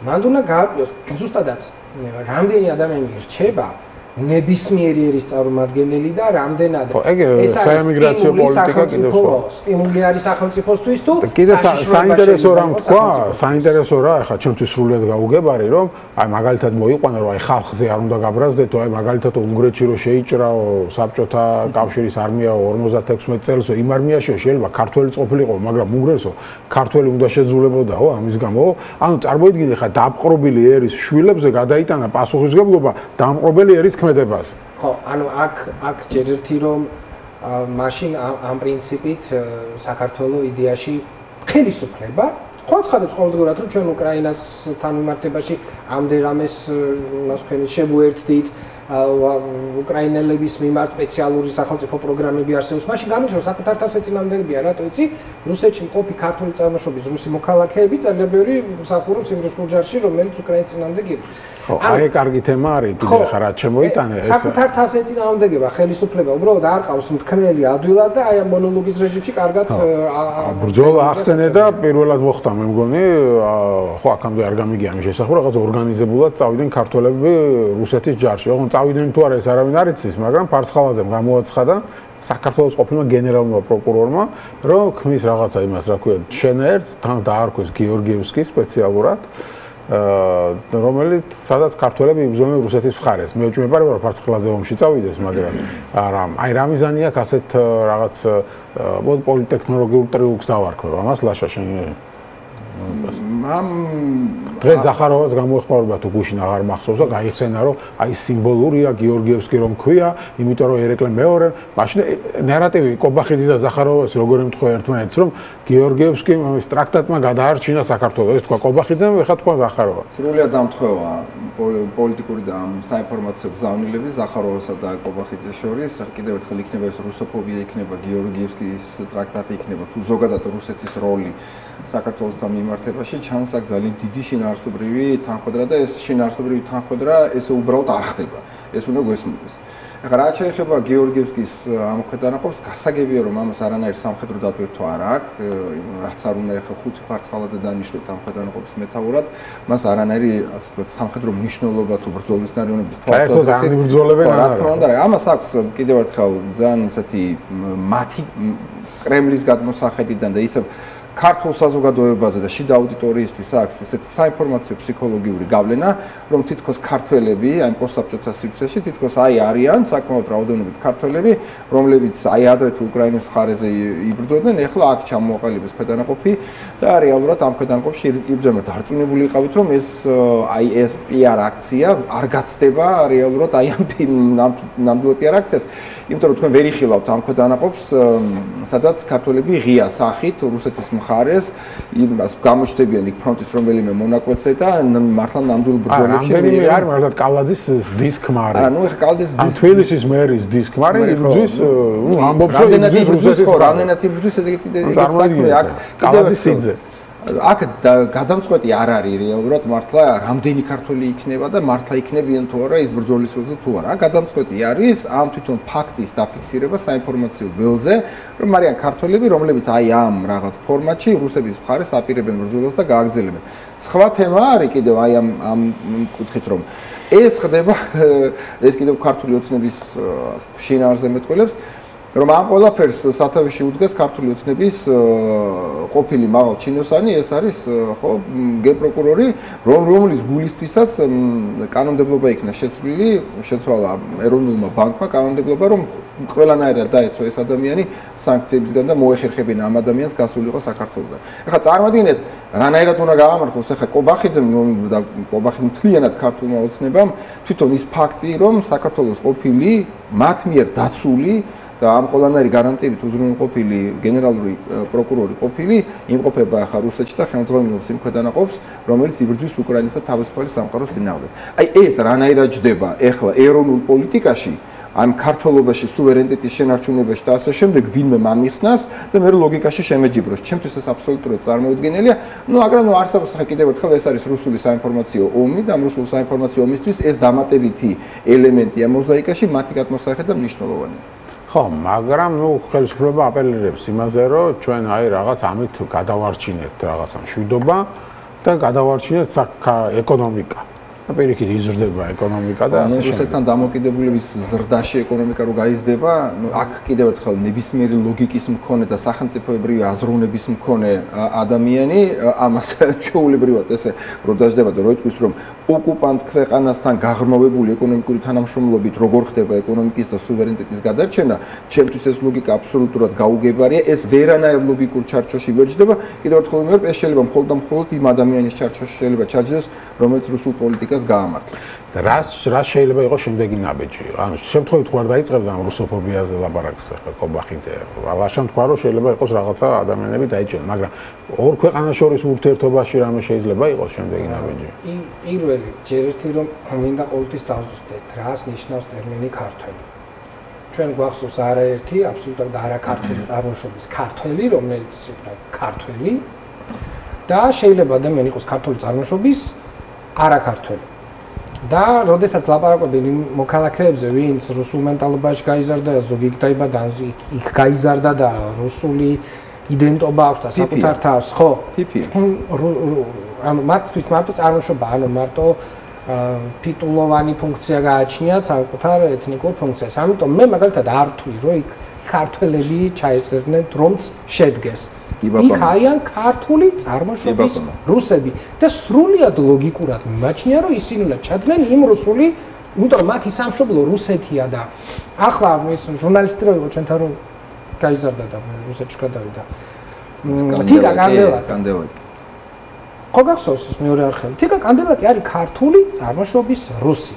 მანდ უნდა გააკეთოს ზუსტადაც რამდენი ადამიანი რჩება ნებისმიერი ერის წარმომადგენელი და რამდენად ეს საემიგრაციო პოლიტიკა კიდევ სხვა სტიმული არის სახელმწიფოსთვის თუ კიდე საინტერესო რამ თქვა საინტერესო რა ახლა ჩემთვის სრულიად გაუგებარი რომ აი მაგალითად მოიყვანა რომ აი ხალხზე არ უნდა გაბრაზდეთო აი მაგალითად უნგრეთში რომ შეიჭრაო საბჭოთა კავშირის არმია 56 წელსო იმ არმიაში შეიძლება ქართველიც ყოფილიყო მაგრამ უნგრეთსო ქართველი უნდა შეძულებოდაო ამის გამო ანუ წარმოიდგინე ხა დაპყრობილი ერის შვილებზე გადაიტანა პასუხისმგებლობა დამპყრობელი ერის ხო, ანუ აქ ჯერ ერთი რომ მაშინ ამ პრინციპით საქართველოს იდეაში ხელისუფლება ხონცხადებს ყოველდღურად რომ ჩვენ უკრაინასთან მიმართებაში ამდენ რამეს მას თქვენი შევუერთდით უკრაინელების მიმართ სპეციალური სახელმწიფო პროგრამები არსებობს. მაშინ გამიჩნდა რომ საკუთარ თავს ეწინააღმდეგებია, რატო იცი? რუსეთში მყოფი ქართული წარმოშობის რუსი მოქალაქეები ძალიან ბევრი მსახურობს იმ რუსულ ჯარში, რომელიც უკრაინის წინააღმდეგ იბრძვის. აი კარგი თემა არის, კიდე ხარ რა შემოიტანე ეს. საკუთარ თავს ეწინააღმდეგება ხელისუფლება უბრალოდ არ ყავს მთქმელი ადვილად და აი ამ მონოლოგის რეჟიმში კარგად ბრძოლა ახსენე და პირველად მოხდა მე მგონი ხო აქამდე არ გამიგია ამის შესახებ რაღაც ორგანიზებულად წავიდნენ ქართველები რუსეთის ჯარში. ოღონდ წავიდნენ თუ არა ეს არავინ არ იცის, მაგრამ ფარცხალაძემ გამოაცხადა საქართველოს ყოფილმა გენერალურმა პროკურორმა, რომ ქმნის რაღაცა იმას, რა ქვია, შენერს, თან დაარქვეს გიორგიევსკი სპეციალურად, რომელიც სადაც ქართველები იბრძოდნენ რუსეთის მხარეს. მე ვჭმებარება რომ ფარცხალაძე ომში წავიდეს, მაგრამ არა, აი რა მიზანი აქვს ასეთ რაღაც პოლიტექნოლოგიურ ტრიუკს დავარქვევ. ამას ლაშა შენ დღეს ზახაროვას გამოეხმარება თუ გუშინ აღარ მახსოვს და გაიხსენა რომ აი სიმბოლურია გიორგიევსკი რომ ქვია, იმიტომ რომ ერეკლე მეორე, მაშინ ნარატივი კობახიძის და ზახაროვას როგორ ემთხვევა ერთმანეთს რომ გიორგიევსკი ის ტრაქტატმა გადაარჩინა საქართველოს. ეს თქვა კობახიძემ, ეხლა თქვა ზახაროვას. სრულიად დამთხევა პოლიტიკური და საინფორმაციო გზავნილები ზახაროვასა და კობახიძეს შორის. კიდევ ერთხელ იქნება ეს რუსოფობია, იქნება გიორგიევსკის ტრაქტატი, იქნება თუ ზოგადად რუსეთის როლი საქართველოსთან მიმართებაში ჩანს აქ ძალიან დიდი შინაარსობრივი თანხმდრა და ეს შინაარსობრივი თანხმდრა ესე უბრალოდ არ ხდება. ეს უნდა გვესმოდეს. ახლა რაც შეეხება გიორგიევსკის ამ ქვედანაყოფს, გასაგებია რომ ამას არანაირ სამხედრო დატვირთვა არ აქვს, რაც არ უნდა ახლა ხუთი ფარცხალაძე დანიშნოთ ამ ქვედანაყოფის მეთაურად, მას არანაირი ასე ვთქვათ სამხედრო მნიშვნელობა თუ ბრძოლის ნარიუნების თვალსაზრისით რა თქმა უნდა, ამას აქვს კიდევ ერთხელ ძალიან ესეთი მათი კრემლის გადმოსახედიდან და ისევ ქართულ საზოგადოებაზე და შიდა აუდიტორიისთვის აქვს ესეთი საინფორმაციო ფსიქოლოგიური გავლენა, რომ თითქოს ქართველები, აი პოსტსაბჭოთა სივრცეში თითქოს აი არიან საკმაოდ რაოდენობით ქართველები, რომლებიც აი ადრე თუ უკრაინის მხარეზე იბრძოდნენ, ეხლა აქ ჩამოაყალიბეს ქვედანაყოფი და რეალურად ამ ქვედანაყოფში იბრძოდნენ. დარწმუნებული იყავით, რომ ეს აი ეს PR აქცია არ გაცდება რეალურად აი ამ ნამდვილ PR აქციას, იმიტომ რომ თქვენ ვერ იხილავთ ამ ქვედანაყოფს, სადაც ქართველები ღია სახით რუსეთის მხარეს იმას გამოჩნდებიან იქ ფრონტის რომელიმე მონაკვეთზე და მართლა ნამდვილ ბრძოლებში რამდენიმე არ მართლა კალაძის დისკმარი. არა, ნუ ეხა კალაძის თბილისის მერის დისკმარი იბრძვის, ამბობს რომ იბრძვის რუსეთის რამდენად იბრძვის ეგეთი საქმე აქ კალაძის სიძე. აქ გადამწყვეტი არ არის რეალურად მართლა რამდენი ქართველი იქნება და მართლა იქნებიან თუ არა ის ბრძოლის ველზე თუ არა. გადამწყვეტი არის ამ თვითონ ფაქტის დაფიქსირება საინფორმაციო ველზე, რომ არიან ქართველები, რომლებიც აი ამ რაღაც ფორმატში რუსების მხარეს აპირებენ ბრძოლას და გააგრძელებენ. სხვა თემა არის კიდევ აი ამ კუთხით რომ ეს ხდება ეს კიდევ ქართული ოცნების შინაარსზე მეტყველებს რომ ამ ყველაფერს სათავეში უდგას ქართული ოცნების ყოფილი მაღალ ჩინოსანი, ეს არის ხო გენპროკურორი, რომლის გულისთვისაც კანონმდებლობა იქნა შეცვლილი, შეცვალა ეროვნულმა ბანკმა კანონმდებლობა, რომ ყველანაირად დაეცვა ეს ადამიანი სანქციებისგან და მოეხერხებინა ამ ადამიანს გასულიყო საქართველოსგან. ეხლა წარმოიდგინეთ, რანაირად უნდა გაამართლოს ეხლა კობახიძემ და კობახიძემ მთლიანად ქართულმა ოცნებამ თვითონ ის ფაქტი, რომ საქართველოს ყოფილი მათ მიერ დაცული და ამ ყველანაირი გარანტიებით უზრუნველყოფილი გენერალური პროკურორი ყოფილი იმყოფება ახლა რუსეთში და ხელმძღვანელობს იმ ქვედანაყოფს, რომელიც იბრძვის უკრაინისა თავისუფალი სამყაროს წინააღმდეგ. აი ეს რანაირად ჯდება ეხლა ეროვნულ პოლიტიკაში, ამ ქართლობაში სუვერენიტეტის შენარჩუნებაში და ასე შემდეგ ვინმე მამიხსნას და მე ლოგიკაში შემეჯიბროს. ჩემთვის ეს აბსოლუტურად წარმოუდგენელია. მაგრამ არსებობს კიდევ ერთხელ ეს არის რუსული საინფორმაციო ომი და ამ რუსული საინფორმაციო ომისთვის ეს დამატებითი ელემენტია მოზაიკაში, მათი გადმოსახება მნიშვნელოვანია. ხო, მაგრამ ხელისუფლება აპელირებს იმაზე, რომ ჩვენ აი რაღაც ამით გადავარჩინეთ რაღაცა მშვიდობა და გადავარჩინეთ ეკონომიკა. პირიქით იზრდება ეკონომიკა და ასე შემდეგ. რუსეთთან დამოკიდებულების ზრდაში ეკონომიკა რო გაიზრდება, აქ კიდევ ერთხელ ნებისმიერი ლოგიკის მქონე და სახელმწიფოებრივი აზროვნების მქონე ადამიანი ამას ჩვეულებრივად ესე რო დაждდება და რო იტყვის რომ ოკუპანტ ქვეყანასთან გაღრმავებული ეკონომიკური თანამშრომლობით როგორ ხდება ეკონომიკის და სუვერენიტეტის გადარჩენა, ჩემთვის ეს ლოგიკა აბსოლუტურად გაუგებარია, ეს ვერანაირ ლოგიკურ ჩარჩოში ვერ ჯდება. კიდევ ერთხელ ვიმეორებ, ეს შეიძლება მხოლოდ და მხოლოდ იმ ადამიანის ჩარჩოში შეიძლება ჩაჯდეს, რომელიც რუსულ პოლიტიკას რუსოფობიას გაამართლა. და რა შეიძლება იყოს შემდეგი ნაბიჯი? ანუ შემთხვევით თუ არ დაიწყებდა ამ რუსოფობიაზე ლაპარაკს ახლა კობახიძე. ლაშან თქვა რომ შეიძლება იყოს რაღაცა ადამიანები დაიჭირონ, მაგრამ ორ ქვეყანას შორის ურთიერთობაში რამე შეიძლება იყოს შემდეგი ნაბიჯი? პირველი ჯერ ერთი რომ მინდა ყოველთვის დავზუსტეთ, რას ნიშნავს ტერმინი ქართველი. ჩვენ გვახსოვს არაერთი აბსოლუტურად არაქართული წარმოშობის ქართველი, რომელიც იქნება ქართველი და შეიძლება ადამიანი იყოს ქართული წარმოშობის არაქართველი. და როდესაც ლაპარაკობენ მოქალაქეებზე, ვინც რუსულ მენტალობაში გაიზარდა, ზოგი იქ დაიბადა, იქ გაიზარდა და რუსული იდენტობა აქვს და საკუთარ თავს, ხო? ანუ მათთვის მარტო წარმოშობა, ანუ მარტო ფიტულოვანი ფუნქცია გააჩნიათ საკუთარ ეთნიკურ ფუნქციას. ამიტომ მე მაგალითად არ ვთვლი, რომ იქ ქართველები ჩაეწერდნენ რომც შედგეს. იქ არიან ქართული წარმოშობის რუსები და სრულიად ლოგიკურად მიმაჩნია, რომ ისინი უნდა ჩადნენ იმ რუსული, იმიტომ რომ მათი სამშობლო რუსეთია და ახლა ის ჟურნალისტი რო იყო ჩვენთან რომ გაიზარდა და რუსეთში გადავიდა. თიკა კანდელაკი. ხო გახსოვს ის მეორე არხელი. თიკა კანდელაკი არის ქართული წარმოშობის რუსი.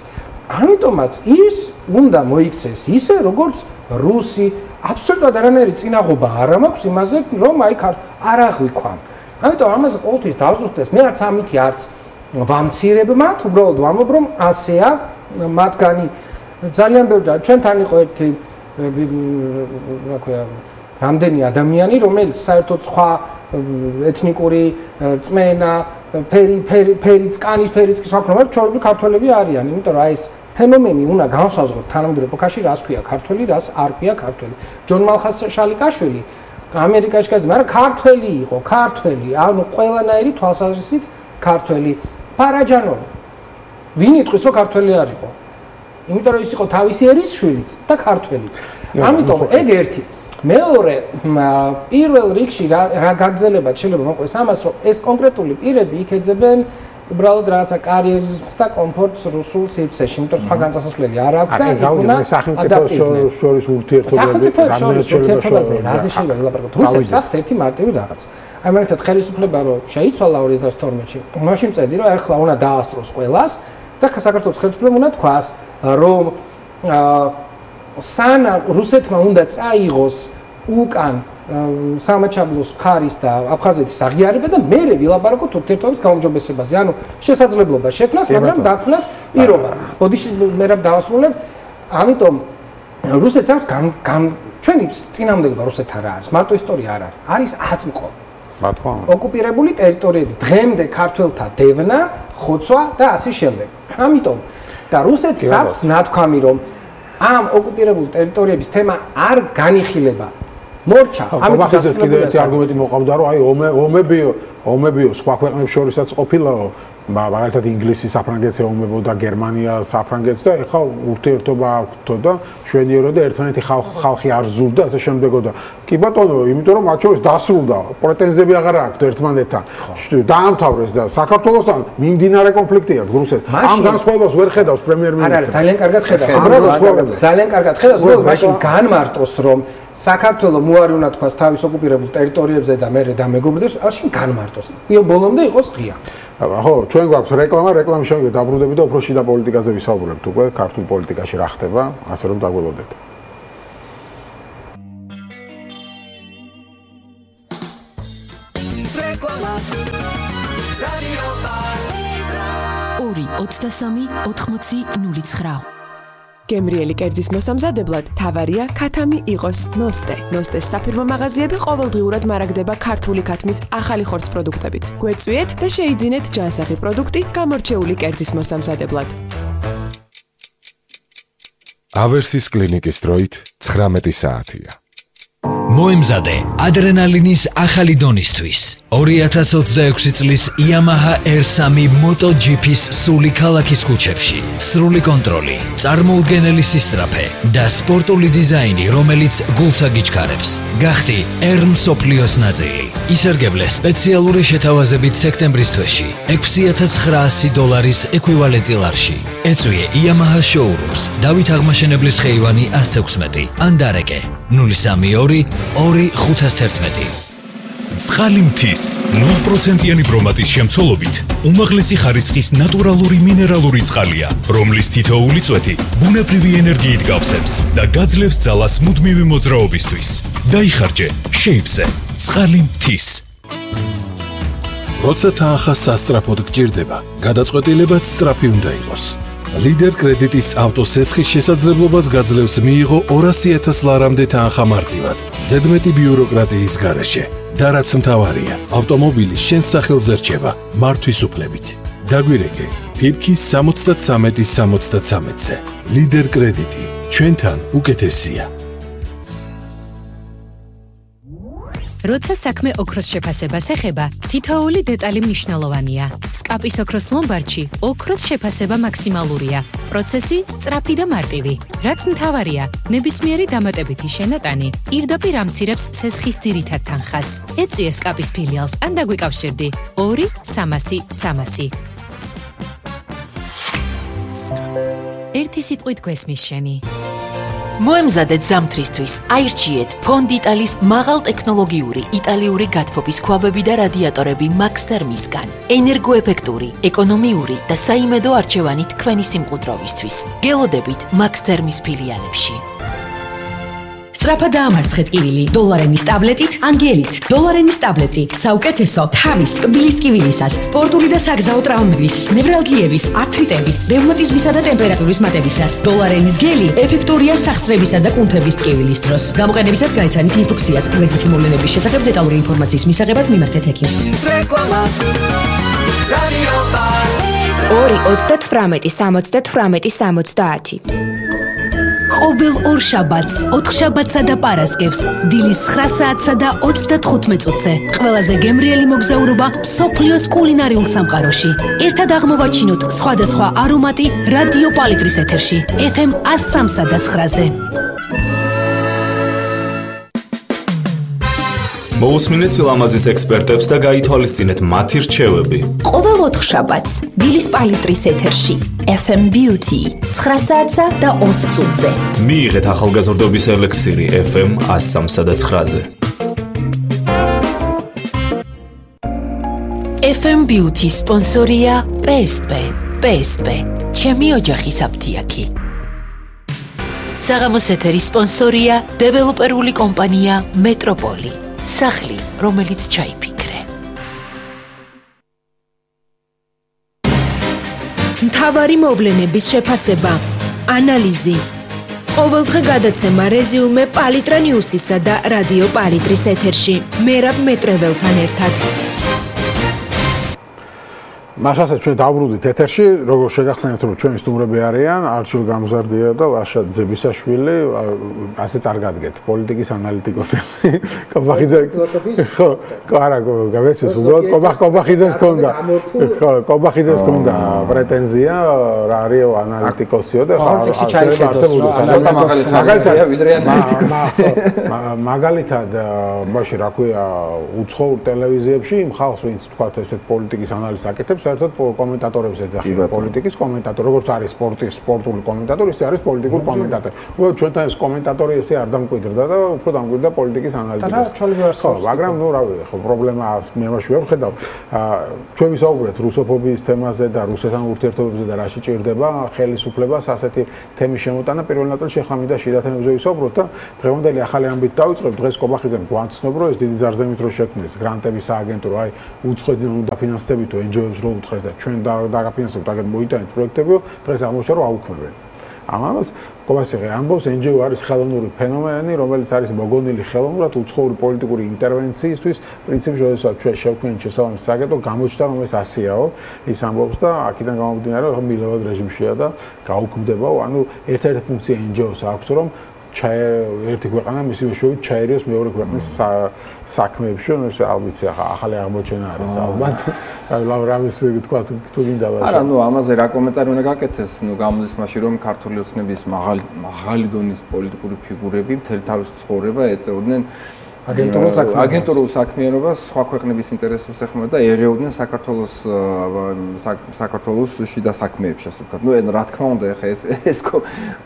ამიტომაც ის უნდა მოიქცეს ისე როგორც რუსი. აბსოლუტურად არანაირი წინაღობა არ მაქვს იმაზე, რომ აი არ აღვიქვამ. ამიტომ ამაზე ყოველთვის დავზუსტეს, მე არც ამითი არც ვამცირებ მათ, უბრალოდ ვამბობ, რომ ასეა მათგანი ძალიან ბევრი ჩვენთან იყო ერთი რა ქვია, რამდენი ადამიანი, რომელიც საერთოდ სხვა ეთნიკური წმენა, ფერიც, კანის ფერიც კი სხვა პრობლემა, ჩვენი ქართველები არიან, იმიტომ რომ აი ეს ფენომენი უნდა განსაზღვროთ თანამედროვე ეპოქაში, რას ქვია ქართველი, რას არ ქვია ქართველი. ჯონ მალხაზ-შალიკაშვილი ამერიკაში გაიზარდა, მაგრამ ქართველი იყო, ქართველი, ანუ ყველანაირი თვალსაზრისით ქართველი. პარაჯანოვი. ვინ იტყვის, რომ ქართველი არ იყო? იმიტომ რომ ის იყო თავისი ერის შვილიც და ქართველიც. ამიტომ ეგ ერთი. მეორე, პირველ რიგში რა გაგრძელება შეიძლება მოყვეს ამას, რომ ეს კონკრეტული პირები იქეძებენ უბრალოდ რაღაცა კარიერიზმს და კომფორტს რუსულ სივრცეში, იმიტომ რომ სხვა განსასვლელი არ აქვს და იქ უნდა სახელმწიფოს შორის ურთიერთობები, ურთიერთობაზე რაზე შეიძლება ვილაპარაკოთ? რუსეთს აქვს ერთი მარტივი რაღაც. აი მაგალითად ხელისუფლება რომ შეიცვალა 2012-ში, მაშინ წერდი რომ ახლა უნდა დაასწროს ყველას და საქართველოს ხელისუფლებამ უნდა თქვას, რომ სანამ რუსეთმა უნდა წაიღოს უკან სამაჩაბლოს მხარის და აფხაზეთის აღიარება და მერე ვილაპარაკოთ ურთიერთობების გაუმჯობესებაზე. ანუ შესაძლებლობა შექმნას, მაგრამ დაქმნას პირობა. ბოდიში მე რა დავასრულებ. ამიტომ რუსეთს აქვს ჩვენი წინამდებობა რუსეთთან რა არის? მარტო ისტორია არ არის. არის აწმყო. ოკუპირებული ტერიტორიები, დღემდე ქართველთა დევნა, ხოცვა და ასე შემდეგ. ამიტომ და რუსეთს აქვს ნათქვამი, რომ ამ ოკუპირებული ტერიტორიების თემა არ განიხილება. მორჩა, ამიტომ კიდევ ერთი არგუმენტი მოყავდა, რომ აი ომებიო სხვა ქვეყნებს შორისაც ყოფილაო, მაგალითად ინგლისი საფრანგეთზე ომებოდა, გერმანია საფრანგეთს და ეხლა ურთიერთობა აქვთო და შვენიერო და ერთმანეთი ხალხი არ ზურდა, ასე შემდეგოდა. კი ბატონო, იმიტომ რომ მათ შორის დასრულდა, პრეტენზიები აღარ აქვთ ერთმანეთთან. დაამთავრეს და საქართველოსთან მიმდინარე კონფლიქტი აქვს რუსეთს. ამ განსხვავებას ვერ ხედავს პრემიერ-მინისტრი. არა, ძალიან კარგად ხედავს. ძალიან კარგად ხედავს, უბრალოდ მაშინ განმარტოს, რომ საქართველოს მოარი უნდა თქვას თავის ოკუპირებულ ტერიტორიებზე და მერე დამეგობრდეს, მაშინ განმარტოს. ბოლომდე იყოს ღია. ხო, ჩვენ გვაქვს რეკლამა, რეკლამის შემდეგ დაბრუნდები და უფრო შიდა პოლიტიკაზე ვისაუბრებთ უკვე, ქართულ პოლიტიკაში რა ხდება, ასე რომ დაგველოდეთ. რეკლამა. რადიო პალიტრა. 2-23-80-09 გემრიელი კერძის მოსამზადებლად თავარია ქათამი იყოს ნოსტე. ნოსტეს საფირმო მაღაზიები ყოველდღიურად მარაგდება ქართული ქათმის ახალი ხორცს პროდუქტებით. გვეწვიეთ და შეიძინეთ ჯანსაღი პროდუქტი გამორჩეული კერძის მოსამზადებლად. ავერსის კლინიკის დროით 19 საათია. მოემზადე ადრენალინის ახალი დონისთვის 2026 წლის Yamaha R3 MotoGP-ს სული ქალაქის ქუჩებში. სრული კონტროლი, წარმოუდგენელი სისწრაფე და სპორტული დიზაინი, რომელიც გულს აგიჩქარებს. გახდი R მსოფლიოს ნაწილი. ისარგებლე სპეციალური შეთავაზებით სექტემბრის თვეში $6,900 ეკვივალენტი ლარში. ეწვიე Yamaha showrooms, დავით აღმაშენებლის ხეივანი 116 ან დარეკე 032 2-511. ცხალი მთის 0%-იანი ბრომატის შემცველობით უმაღლესი ხარისხის ნატურალური მინერალური წყალია, რომლის თითოეული წვეთი ბუნებრივი ენერგიით გავსებს და გაძლევს ძალას მუდმივი მოძრაობისთვის. დაიხარჯე შეივზე ცხალი მთის. როცა თანხა სასწრაფოდ გჭირდება, გადაწყვეტილებაც სწრაფი უნდა იყოს. ლიდერ კრედიტის ავტოსესხის შესაძლებლობას გაძლევს მიიღო 200,000 ლარამდე თანხა მარტივად, ზედმეტი ბიუროკრატიის გარეშე. და რაც მთავარია, ავტომობილი შენს სახელზე რჩება მართვის უფლებით. დაგვირეკე ფიფქის 73-63-ზე. ლიდერ კრედიტი ჩვენთან უკეთესია. როცა საქმე ოქროს შეფასებას ეხება, თითოეული დეტალი მნიშვნელოვანია. სკაპის ოქროს ლომბარდში ოქროს შეფასება მაქსიმალურია. პროცესი სწრაფი და მარტივი. რაც მთავარია, ნებისმიერი დამატებითი შენატანი პირდაპირ ამცირებს სესხის ძირითად თანხას. ეწვიე სკაპის ფილიალს ან დაგვიკავშირდი 2-300-300. ერთი სიტყვით გვესმის შენი. მოემზადეთ ზამთრისთვის, აირჩიეთ ფონდიტალის მაღალტექნოლოგიური იტალიური გათბობის ქვაბები და რადიატორები Max Thermis-გან. ენერგოეფექტური, ეკონომიური და საიმედო არჩევანი თქვენი სიმყუდროვისთვის. გელოდებით Max Thermis ფილიალებში. სწრაფად დაამარცხეთ კივილი დოლარენის ტაბლეტით, ანგელით. დოლარენის ტაბლეტი საუკეთესო თავის, კბილის ტკივილისას, სპორტული და საგზაო ტრაუმების, ნევრალგიების, ართრიტების, რევმატიზმისა და ტემპერატურის მატებისას. დოლარენის გელი ეფექტურია სახსრებისა და კუნთების ტკივილის დროს. გამოყენებისას გაიცანით ინსტრუქციას. გვერდითი მოვლენების შესახებ დეტალური ინფორმაციის მისაღებად მიმართეთ ექიმს. რეკლამა. რადიო პალიტრა. 2-38-70-70. ყოველ ორ შაბათს, 4 შაბათსა და პარასკევს, დილის 9 საათსა და 35 წუთზე. ყველაზე გემრიელი მოგზაურობა მსოფლიოს კულინარიულ სამყაროში. ერთად აღმოვაჩინოთ სხვადასხვა არომატი რადიო პალიტრის ეთერში, FM 103-სა და 9-ზე. მოусმინეთ სილამაზის ექსპერტებს და გაითვალისწინეთ მათი რჩევები. ყოველ 4 შაბათს, დილის პალიტრის ეთერში, FM Beauty 9 საათსა და 20 წუთზე. მიიღეთ ახალგაზრდობის ელექსირი FM 103-სა და 9-ზე. FM Beauty სპონსორია PSP. PSP. ჩემი ოჯახის აფთიაქი. საღამოს ეთერის სპონსორია დეველოპერული კომპანია მეტროპოლი. სახლი, რომელიც ჩაიფიქრე. მთავარი მოვლენების შეფასება, ანალიზი. ყოველდღე გადაცემა რეზიუმე პალიტრა ნიუსისა და რადიო პალიტრის ეთერში. მერაბ მეტრეველთან ერთად. მაშასაც ჩვენ დავბრუნდით ეთერში, როგორ შეგახსენებთ, რომ ჩვენი სტუმრები არიან არჩილ გამზარდია და ლაშა ძებისაშვილი, ასე წარგადგეთ პოლიტიკის ანალიტიკოსი. კობახიძე. ხო, არა, გავესმის უბრალოდ კობახიძეს ჰქონდა. ხო, კობახიძეს ჰქონდა პრეტენზია, რა არის ანალიტიკოსიო და მაგალითად, მაშინ რა ქვია, უცხოურ ტელევიზიებში იმ ხალხს, ვინც თქვათ ესეთ პოლიტიკის ანალიზს აკეთებს, საერთოდ კომენტატორებს ეძახიან პოლიტიკის კომენტატორი, როგორც არის სპორტული კომენტატორი, ისე არის პოლიტიკური კომენტატორი. ჩვენთან ეს კომენტატორი ესე არ დამკვიდრდა და უფრო დამკვიდრდა პოლიტიკის ანალიტიკას. ხო, მაგრამ ნუ რავი, ხო, პრობლემა მე მაშინ ვხედავ. ჩვენ ვისაუბრეთ რუსოფობიის თემაზე და რუსეთთან ურთიერთობებზე და რაში ჭირდება ხელისუფლებას ასეთი თემის შემოტანა. პირველ ნაწილში ახლა მინდა შიდა თემებზე ვისაუბროთ და დღევანდელი ახალი ამბით დავიწყებ. დღეს კობახიძემ გვაცნობ, რომ ეს დიდი ზარზემით რო შექმნეს გრანტების სააგენტო, აი უცხოეთიდან უნდა ფინანსდებითო NGO-ებს რო უთხრეს და ჩვენ დაგაფინანსებთ აგერ მოიტანეთ პროექტები, დღეს აღმოჩნდა რომ აუქმებენ. ამას კობახიძე ამბობს, NGO არის ხელოვნური ფენომენი, რომელიც არის მოგონილი ხელოვნურად უცხოური პოლიტიკური ინტერვენციისთვის, პრინციპში შესაძლოა ჩვენ შევქმნით შესაბამის სააგენტო, გამოჩნდა რომ ეს ასეაო, ის ამბობს და აქედან გამომდინარე რომ მილევად რეჟიმშია და გაუქმდება, ანუ ერთ-ერთი ფუნქცია NGO-ს აქვს, რომ ერთი ქვეყანა მისი მეშვეობით ჩაერიოს მეორე ქვეყნის საქმეებში, ნუ ეს ალბათ ახალი აღმოჩენა არის ალბათ. ლავრამის თქვა თუ გინდა ვაშა. არა, ნუ ამაზე რა კომენტარი უნდა გაკეთეს, ნუ გამოდის მაშინ რომ ქართული ოცნების მაღალი დონის პოლიტიკური ფიგურები მთელი თავის ცხოვრება ეწეოდნენ აგენტურულ საქმიანობას სხვა ქვეყნების ინტერესებს ეხმოდა და ერეოდნენ საქართველოს შიდა საქმეებში, ასე ვთქვათ. ნუ რა თქმა უნდა, ეხა ეს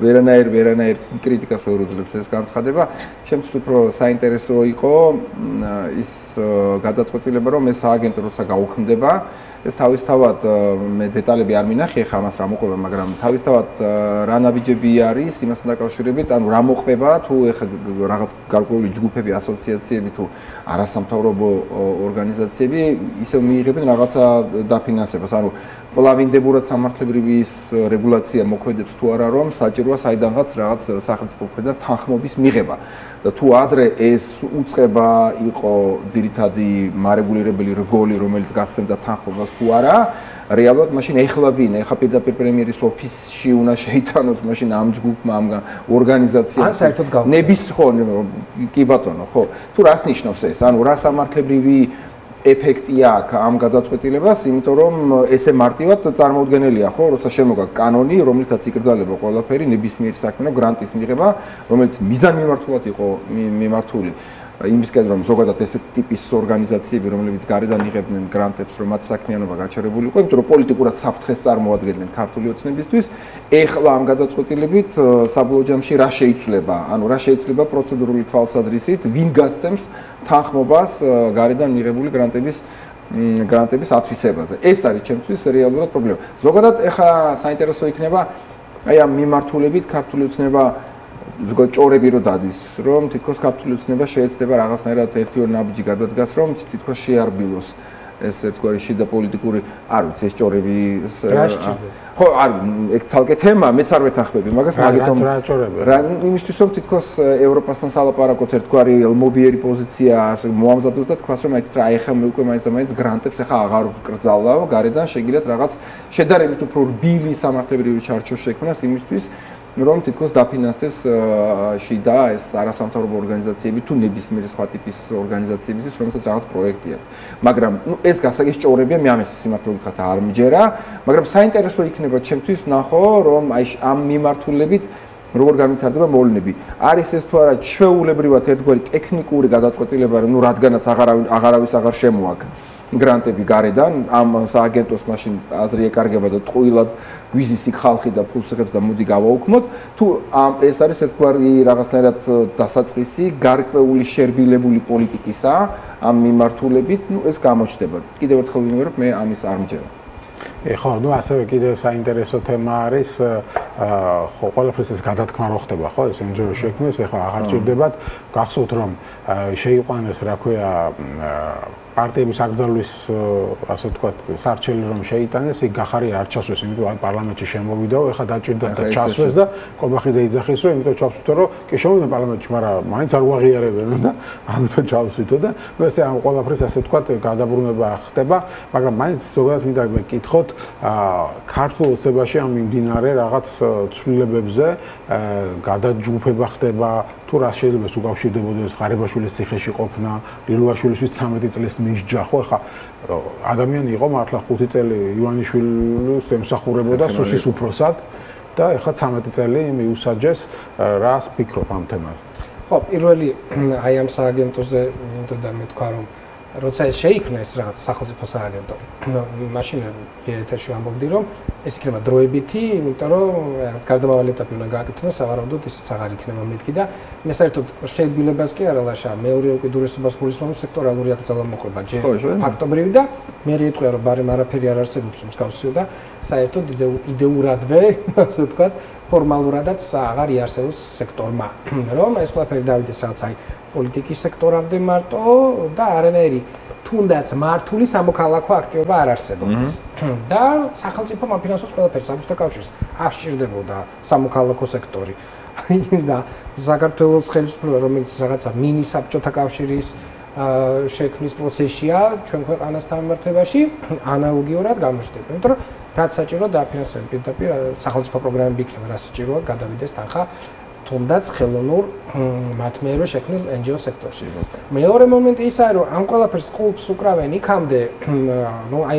ვერანაირ კრიტიკას ვერ უძლებს ეს განცხადება. შემთხვევით უფრო საინტერესო იყო ის გადაწყვეტილება, რომ ეს სააგენტო როცა გაუქმდება, ეს თავისთავად მე დეტალები არ მინახე ხა მას რა მოყვება, მაგრამ თავისთავად რა ნაბიჯები არის იმასთან დაკავშირებით, ანუ რა მოყვება თუ ეხა რაღაც გარკვეული ჯგუფები, ასოციაციები თუ არასამთავრობო ორგანიზაციები ისევ მიიღებენ რაღაცა დაფინანსებას, ანუ პლავინდებურად სამართლებრივის რეგულაცია მოქმედებს თუ არა, რომ საჭიროა საიდანღაც რაღაც სახელმწიფო მხრიდან თანხმობის მიღება. და თუ ადრე ეს უწყება იყო ძირითადი მარეგულირებელი რგოლი, რომელიც გასცემდა თანხმობას თუ არა, რეალურად მაშინ ეხლა ვინ, ეხლა პირდაპირ პრემიერის ოფისში უნდა შეიტანოს მაშინ ამ ჯგუფმა, ამ ორგანიზაციამ. ან საერთოდ გავხდა. ნების ხო, კი ბატონო, ხო. თუ რას ნიშნავს ეს? ანუ რა სამართლებრივი ეფექტი აქვს ამ გადაწყვეტილებას, იმიტომ რომ ესე მარტივად წარმოუდგენელია, ხო, როცა შემოგა კანონი, რომლითაც იკრძალება ყველაფერი ნებისმიერი საქმე, გრანტის მიღება, რომელიც მიზანმიმართულად იყო მიმართული. იმისკენ რომ ზოგადად ესეთი ტიპის ორგანიზაციები, რომლებიც გარედან იღებდნენ გრანტებს, რომ მათ საქმიანობა გაჩერებული იყო, იმიტომ რომ პოლიტიკურად საფრთხეს წარმოადგენდნენ ქართული ოცნებისთვის, ეხლა ამ გადაწყვეტილებით საბოლოო ჯამში რა შეიცვლება? ანუ რა შეიცვლება პროცედურული თვალსაზრისით, ვინ გასცემს თანხმობას გარედან მიღებული გრანტების ათვისებაზე. ეს არის ჩემთვის რეალურად პრობლემა. ზოგადად ეხლა საინტერესო იქნება აი ამ მიმართულებით ქართული ოცნება ზოგადად ჭორები რო დადის, რომ თითქოს ქართული ოცნება შეეცდება რაღაცნაირად ერთი-ორი ნაბიჯი გადადგას, რომ თითქოს შეარბილოს ეს ერთგვარი შიდა პოლიტიკური, არ ვიცი, ეს ჭორები ხო, არ ეგ ცალკე თემა, მეც არ ვეთანხმები მაგას, მაგიტომ რა ჭორები? რა იმისთვის რომ თითქოს ევროპასთან სალაპარაკოთ ერთგვარი ელმობიერი პოზიცია მოამზადოს და თქვას რომ აიც რა ეხა მე უკვე მაინც და მაინც გრანტებს ეხა აღარ ვკრძალავ, გარედან შეგიძლიათ რაღაც შედარებით უფრო რბილი სამართლებრივი ჩარჩო შექმნას იმისთვის რომ თითქოს დაფინანსდეს შიდა ეს არასამთავრობო ორგანიზაციები თუ ნებისმიერი სხვა ტიპის ორგანიზაციებისთვის, რომელსაც რაღაც პროექტი აქვს. მაგრამ ეს გასაგეს ჭორებია, მე ამას სიმართლე გითხრათ არ მჯერა, მაგრამ საინტერესო იქნება ჩემთვის ნახო, რომ აი ამ მიმართულებით როგორ განვითარდება მოვლენები. არის ეს თუ არა ჩვეულებრივად ერთგვარი ტექნიკური გადაწყვეტილება, რომ რადგანაც აღარავის აღარ შემოაქვს გრანტები გარედან, ამ სააგენტოს მაშინ აზრი ეკარგება და ტყუილად გვიზის იქ ხალხი და ფულს იღებს და მოდი გავაუქმოთ, თუ ეს არის ერთგვარი რაღაცნაირად დასაწყისი გარკვეული შერბილებული პოლიტიკისა ამ მიმართულებით, ეს გამოჩნდება. კიდევ ერთხელ ვიმეორებ, მე ამის არ მჯერა. ხო, ну ასევე კიდევ საინტერესო თემა არის, ხო, ყველაფერს ეს გადათქმა რო ხდება, ხო, ეს NGO შექმნეს, ეხლა აღარ ჭირდებათ, გახსოვთ რომ შეიყვანეს, რა ქვია, პარტიების აკრძალვის, ასე ვთქვათ, სარჩელი რომ შეიტანეს, იქ გახარი არ ჩასვეს, იმიტომ რომ პარლამენტში შემოვიდაო, ეხლა დაჭირდა და ჩასვეს და კობახიძე იძახის, რომ იმიტომ ჩავსვითო, რომ კი შემოვიდა პარლამენტში, მაგრამ მაინც არ უაღიარებენ და ამიტომ ჩავსვითო და ესე ამ ყველაფერს ასე ვთქვათ, გადაბრუნება ხდება, მაგრამ მაინც ზოგადად მინდა მეკითხოთ, ქართულ ოცნებაში ამ მიმდინარე რაღაც ცვლილებებზე გადაჯგუფება ხდება, თუ რა შეიძლება უკავშირდებოდეს ღარიბაშვილის ციხეში ყოფნა, ლილუაშვილისთვის 13 წლის მისჯა, ხო, ხა ადამიანი იყო მართლა 5 წელი ივანიშვილს ემსახურებოდა სუსის უფროსად და ეხლა 13 წელი მიუსაჯეს, რას ფიქრობ ამ თემაზე? ხო, პირველი აი ამ სააგენტოზე მინდოდა და მეთქვა რომ როცა ეს შეიქმნეს რაღაც სახელმწიფო სააგენტო, მაშინ ეთერში ვამბობდი რომ ეს იქნება დროებითი, იმიტომ რომ რაღაც გარდამავალი ეტაპი უნდა გააკეთოს, სავარაუდოდ ისიც აღარ იქნება მეთქი და მე საერთოდ შეგვიძლებას კი არა ლაშა, მეორე უკიდურესობას გულისხმობს სექტორალური აკრძალვა მოყვება, ჯერ ფაქტობრივი და მე რიეთყვია რომ ბარემ არაფერი არ არსებობს მსგავსი და საერთოდ იდეურადვე, ასე ვთქვათ, ფორმალურადაც აღარ იარსებობს სექტორმა, რომ ეს ყველაფერი დავიდეს რაღაც აი პოლიტიკის სექტორამდე მარტო და არანაირი თუნდაც მართული სამოქალაქო აქტივობა არ არსებობს. და სახელმწიფო მაფინანსოს ყველაფერი საბჭოთა კავშირს არ სჭირდებოდა სამოქალაქო სექტორი. და საქართველოს ხელისუფლება, რომელიც რაღაცა მინი საბჭოთა კავშირის შექმნის პროცესია ჩვენ ქვეყანასთან მიმართებაში, ანალოგიურად გამოჩნდება. იმიტომ რომ რაც საჭიროა დააფინანსებენ პირდაპირ სახელმწიფო პროგრამები იქნება, რაც საჭიროა გადავიდეს თანხა თუნდაც ხელოვნურ მათმეერვე შექმნილ NGO სექტორში. მეორე მომენტი ის არის, რომ ამ ყველაფერს ყულს უკრავენ იქამდე, ну, აი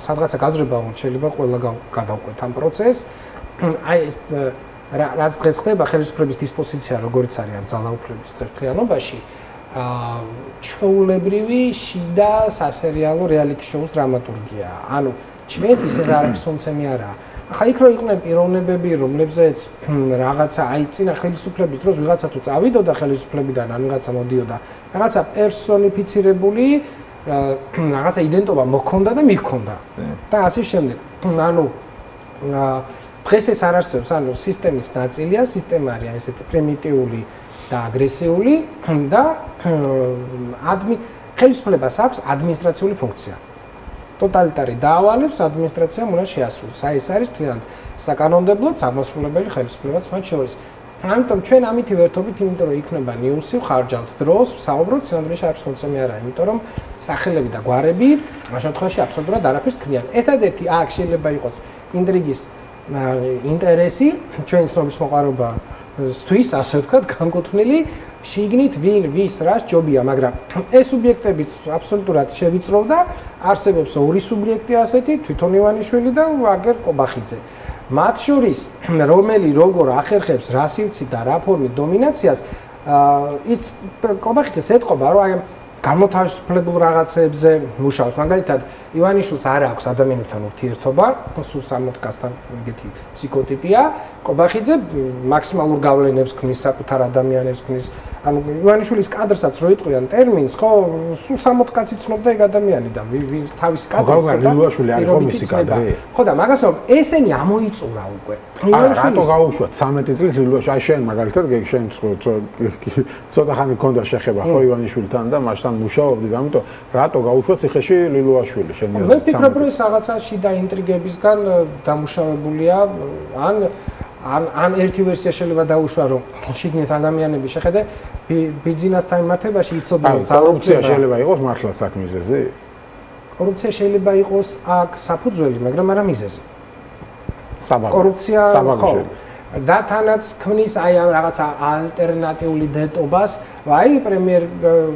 სადღაცა გაზრება უნდა შეიძლება ყველა გადავყვეთ ამ პროცესს. აი ეს რაც დღეს ხდება ხელისუფლების დისპოზიცია, როგორც არის ამ ძალაუფლების ერთიანობაში, ჩვეულებრივი შიდა სასერიალო რეალიტი შოუს დრამატურგია. ანუ ჩვენთვის ეს არის მომცემი არა. ახლა იქ რო იყვნენ პიროვნებები, რომლებზეც რაღაცა აი წინა ხელისუფლების დროს ვიღაცა თუ წავიდოდა ხელისუფლებიდან, ან ვიღაცა მოდიოდა, რაღაცა პერსონიფიცირებული რაღაცა იდენტობა მოქონდა და მიჰქონდა. და ასე შემდეგ. ანუ დღეს ეს არ არსებობს, ანუ სისტემის ნაწილია, სისტემა არის ესეთი პრიმიტიული და აგრესიული და ხელისუფლებას აქვს ადმინისტრაციული ფუნქცია. ტოტალიტარი დაავალებს ადმინისტრაციამ უნდა შეასრულოს. აი ეს არის თლიანად საკანონმდებლო აღმასრულებელი ხელისუფლებაც მათ შორის. ამიტომ ჩვენ ამით ვერთობით, იმიტომ რომ იქნება ნიუსი, ხარჯავთ დროს, საუბრობთ, სინამდვილეში არის ხოცემი არა, იმიტომ რომ სახელები და გვარები ამ შემთხვევაში აბსოლუტურად არაფერს ქმნიან. ერთადერთი აქ შეიძლება იყოს ინტრიგის ინტერესი, ჩვენი ცნობის მოყვარობა სთვის, ასე ვთქვათ, განკუთვნილი შიგნით ვინ ვის რა ჯობია, მაგრამ ეს სუბიექტებიც აბსოლუტურად შევიწროვდა, არსებობს ორი სუბიექტი ასეთი, თვითონ ივანიშვილი და ვაგერ კობახიძე. მათ შორის რომელი როგორ ახერხებს რა სივრცით და რა ფორმით დომინაციას, ის კობახიძეს ეთყობა, რომ აი გამოთავისუფლებულ რაღაცებზე მუშაობს. მაგალითად, ივანიშვილს არ აქვს ადამიანებთან ურთიერთობა, სულ სამოთხასთან ეგეთი ფსიქოტიპია. კობახიძე მაქსიმალურ გავლენებს ქმნის საკუთარ ადამიანებს ქმნის. ანუ ივანიშვილის კადრსაც რო იტყვიან ტერმინს, ხო, სულ სამოთხკაცი ცნობდა ეგ ადამიანი და თავის კადრს და ლილიაშვილი არის კომისი კადრი. ხო და მაგას რომ ესენი ამოიწურა უკვე. რატო გაუშვათ 13 წლის ლილიაშვილი? აი შენ მაგალითად შენ ცოტა ხანი გქონდა შეხება ხო ივანიშვილთან და მასთან მუშაობდი, ამიტომ რატო გაუშვათ ციხეში ლილიაშვილი შენ? მე ვფიქრობ, რომ ეს რაღაცა შიდა ინტრიგებისგან დამუშავებულია, ან ერთი ვერსია შეიძლება დაუშვა, რომ შიგნით ადამიანები შეხედე ბიზნესთან მიმართებაში იცოდნენ კორუფცია შეიძლება იყოს მართლაც აქ მიზეზი? კორუფცია შეიძლება იყოს აქ საფუძველი, მაგრამ არა მიზეზი. საბაბი. კორუფცია ხო. და თანაც ქმნის აი ამ რაღაცა ალტერნატიული დეტობას, აი პრემიერ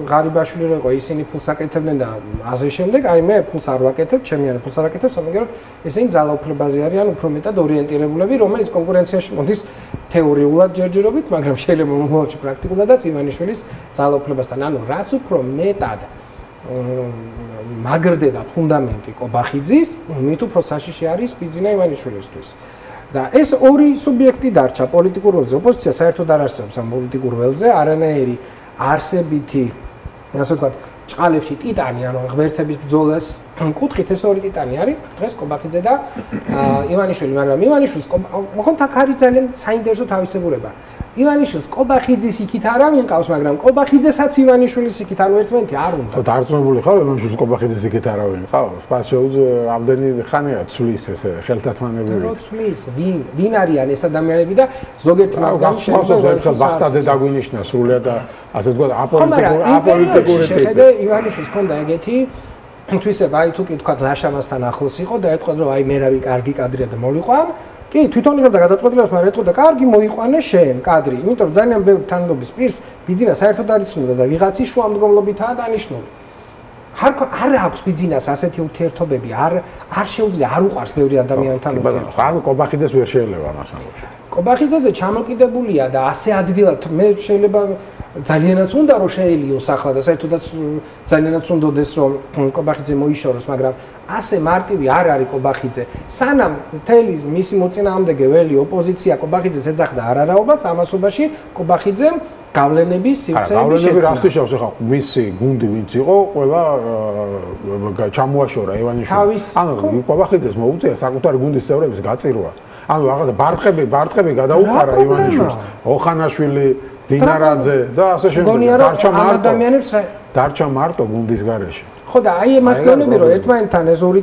ღარიბაშვილი რო იყო, ისინი ფულს აკეთებდნენ და ასე შემდეგ, აი მე ფულს არ ვაკეთებ, ჩემი არა ფულს არ აკეთებ, სამაგერო ესენი ძალაუფლებაზე არიან უფრო მეტად ორიენტირებულები, რომელიც კონკურენციაში მოდის თეორიულად ჯერჯერობით, მაგრამ შეიძლება მომავალში პრაქტიკულადაც ივანიშვილის ძალაუფლებასთან, ანუ რაც უფრო მეტად მაგრდება ფუნდამენტი კობახიძის, მით უფრო საშიში არის ბიძინა ივანიშვილისთვის. და ეს ორი სუბიექტი დარჩა პოლიტიკურ ველზე. ოპოზიცია საერთოდ არ არსებობს ამ პოლიტიკურ ველზე, არანაირი არსებითი, ასე ვთქვათ, ჭყალებში ტიტანი, ანუ ღმერთების ბრძოლას კუთხით ეს ორი ტიტანი არის, დღეს კობახიძე და ივანიშვილი, მაგრამ ივანიშვილს მოხონთ აქ არის ძალიან საინტერესო თავისებურება. ივანიშვილს კობახიძის იქით არავინ ყავს, მაგრამ კობახიძესაც ივანიშვილის იქით ანუ ერთმანეთი არ უნდა. ხო, დარწმუნებული ხარ, ივანიშვილს კობახიძის იქით არავინ ყავს? სპეციალურად ამდენი ხანია ცვლის ეს ხელთათმანებები. რო ცვლის, ვინ არიან ეს ადამიანები და ზოგიერთ მათგანში შეიძლება ვახტაძე დაგვინიშნა სრულად და ასე ვთქვათ აპოლიტიკური ტიპი. შეხედე ივანიშვილს ქონდა ეგეთი თვისება, აი თუ კი თქვათ ლაშამასთან ახლოს იყო და ეთქვა რომ აი მე რავი კარგი კადრია და მოვიყვან. კი, თვითონ იღებდა გადაწყვეტილებას, მაგრამ ეთქვა და კარგი მოიყვანე შენ კადრი, იმიტომ რომ ძალიან ბევრი თანხმობის პირს ბიძინა საერთოდ არ იცნობდა და ვიღაცის შუამდგომლობითაა დანიშნული. არ აქვს ბიძინას ასეთი ურთიერთობები, არ შეუძლია, არ უყარს ბევრი ადამიანთან ურთიერთობა. ანუ კობახიძეს ვერ შეიძლება ამას ამბობ. კობახიძეზე ჩამოკიდებულია და ასე ადვილად მე შეიძლება ძალიანაც უნდა რომ შეელიოს ახლა და საერთოდაც ძალიანაც უნდადეს რომ კობახიძე მოიშოროს, მაგრამ ასე მარტივი არ არის კობახიძე. სანამ მთელი მისი მოწინააღმდეგე ველი ოპოზიცია კობახიძეს ეძახდა არარაობას, ამასობაში კობახიძემ გავლენების სივრცეები შექმნა. გავლენები რას თიშავს ახლა მისი გუნდი ვინც იყო, ყველა ჩამოაშორა ივანიშვილს. ანუ კობახიძეს მოუწია საკუთარი გუნდის წევრების გაწირვა. ანუ რაღაცა ბარტყები გადაუყარა ივანიშვილს, ოხანაშვილი, დინარაძე და ასე შემდეგ. დარჩა მარტო გუნდის გარეშე. ხო და აი ამას გეუბნები რომ ერთმანეთთან ეს ორი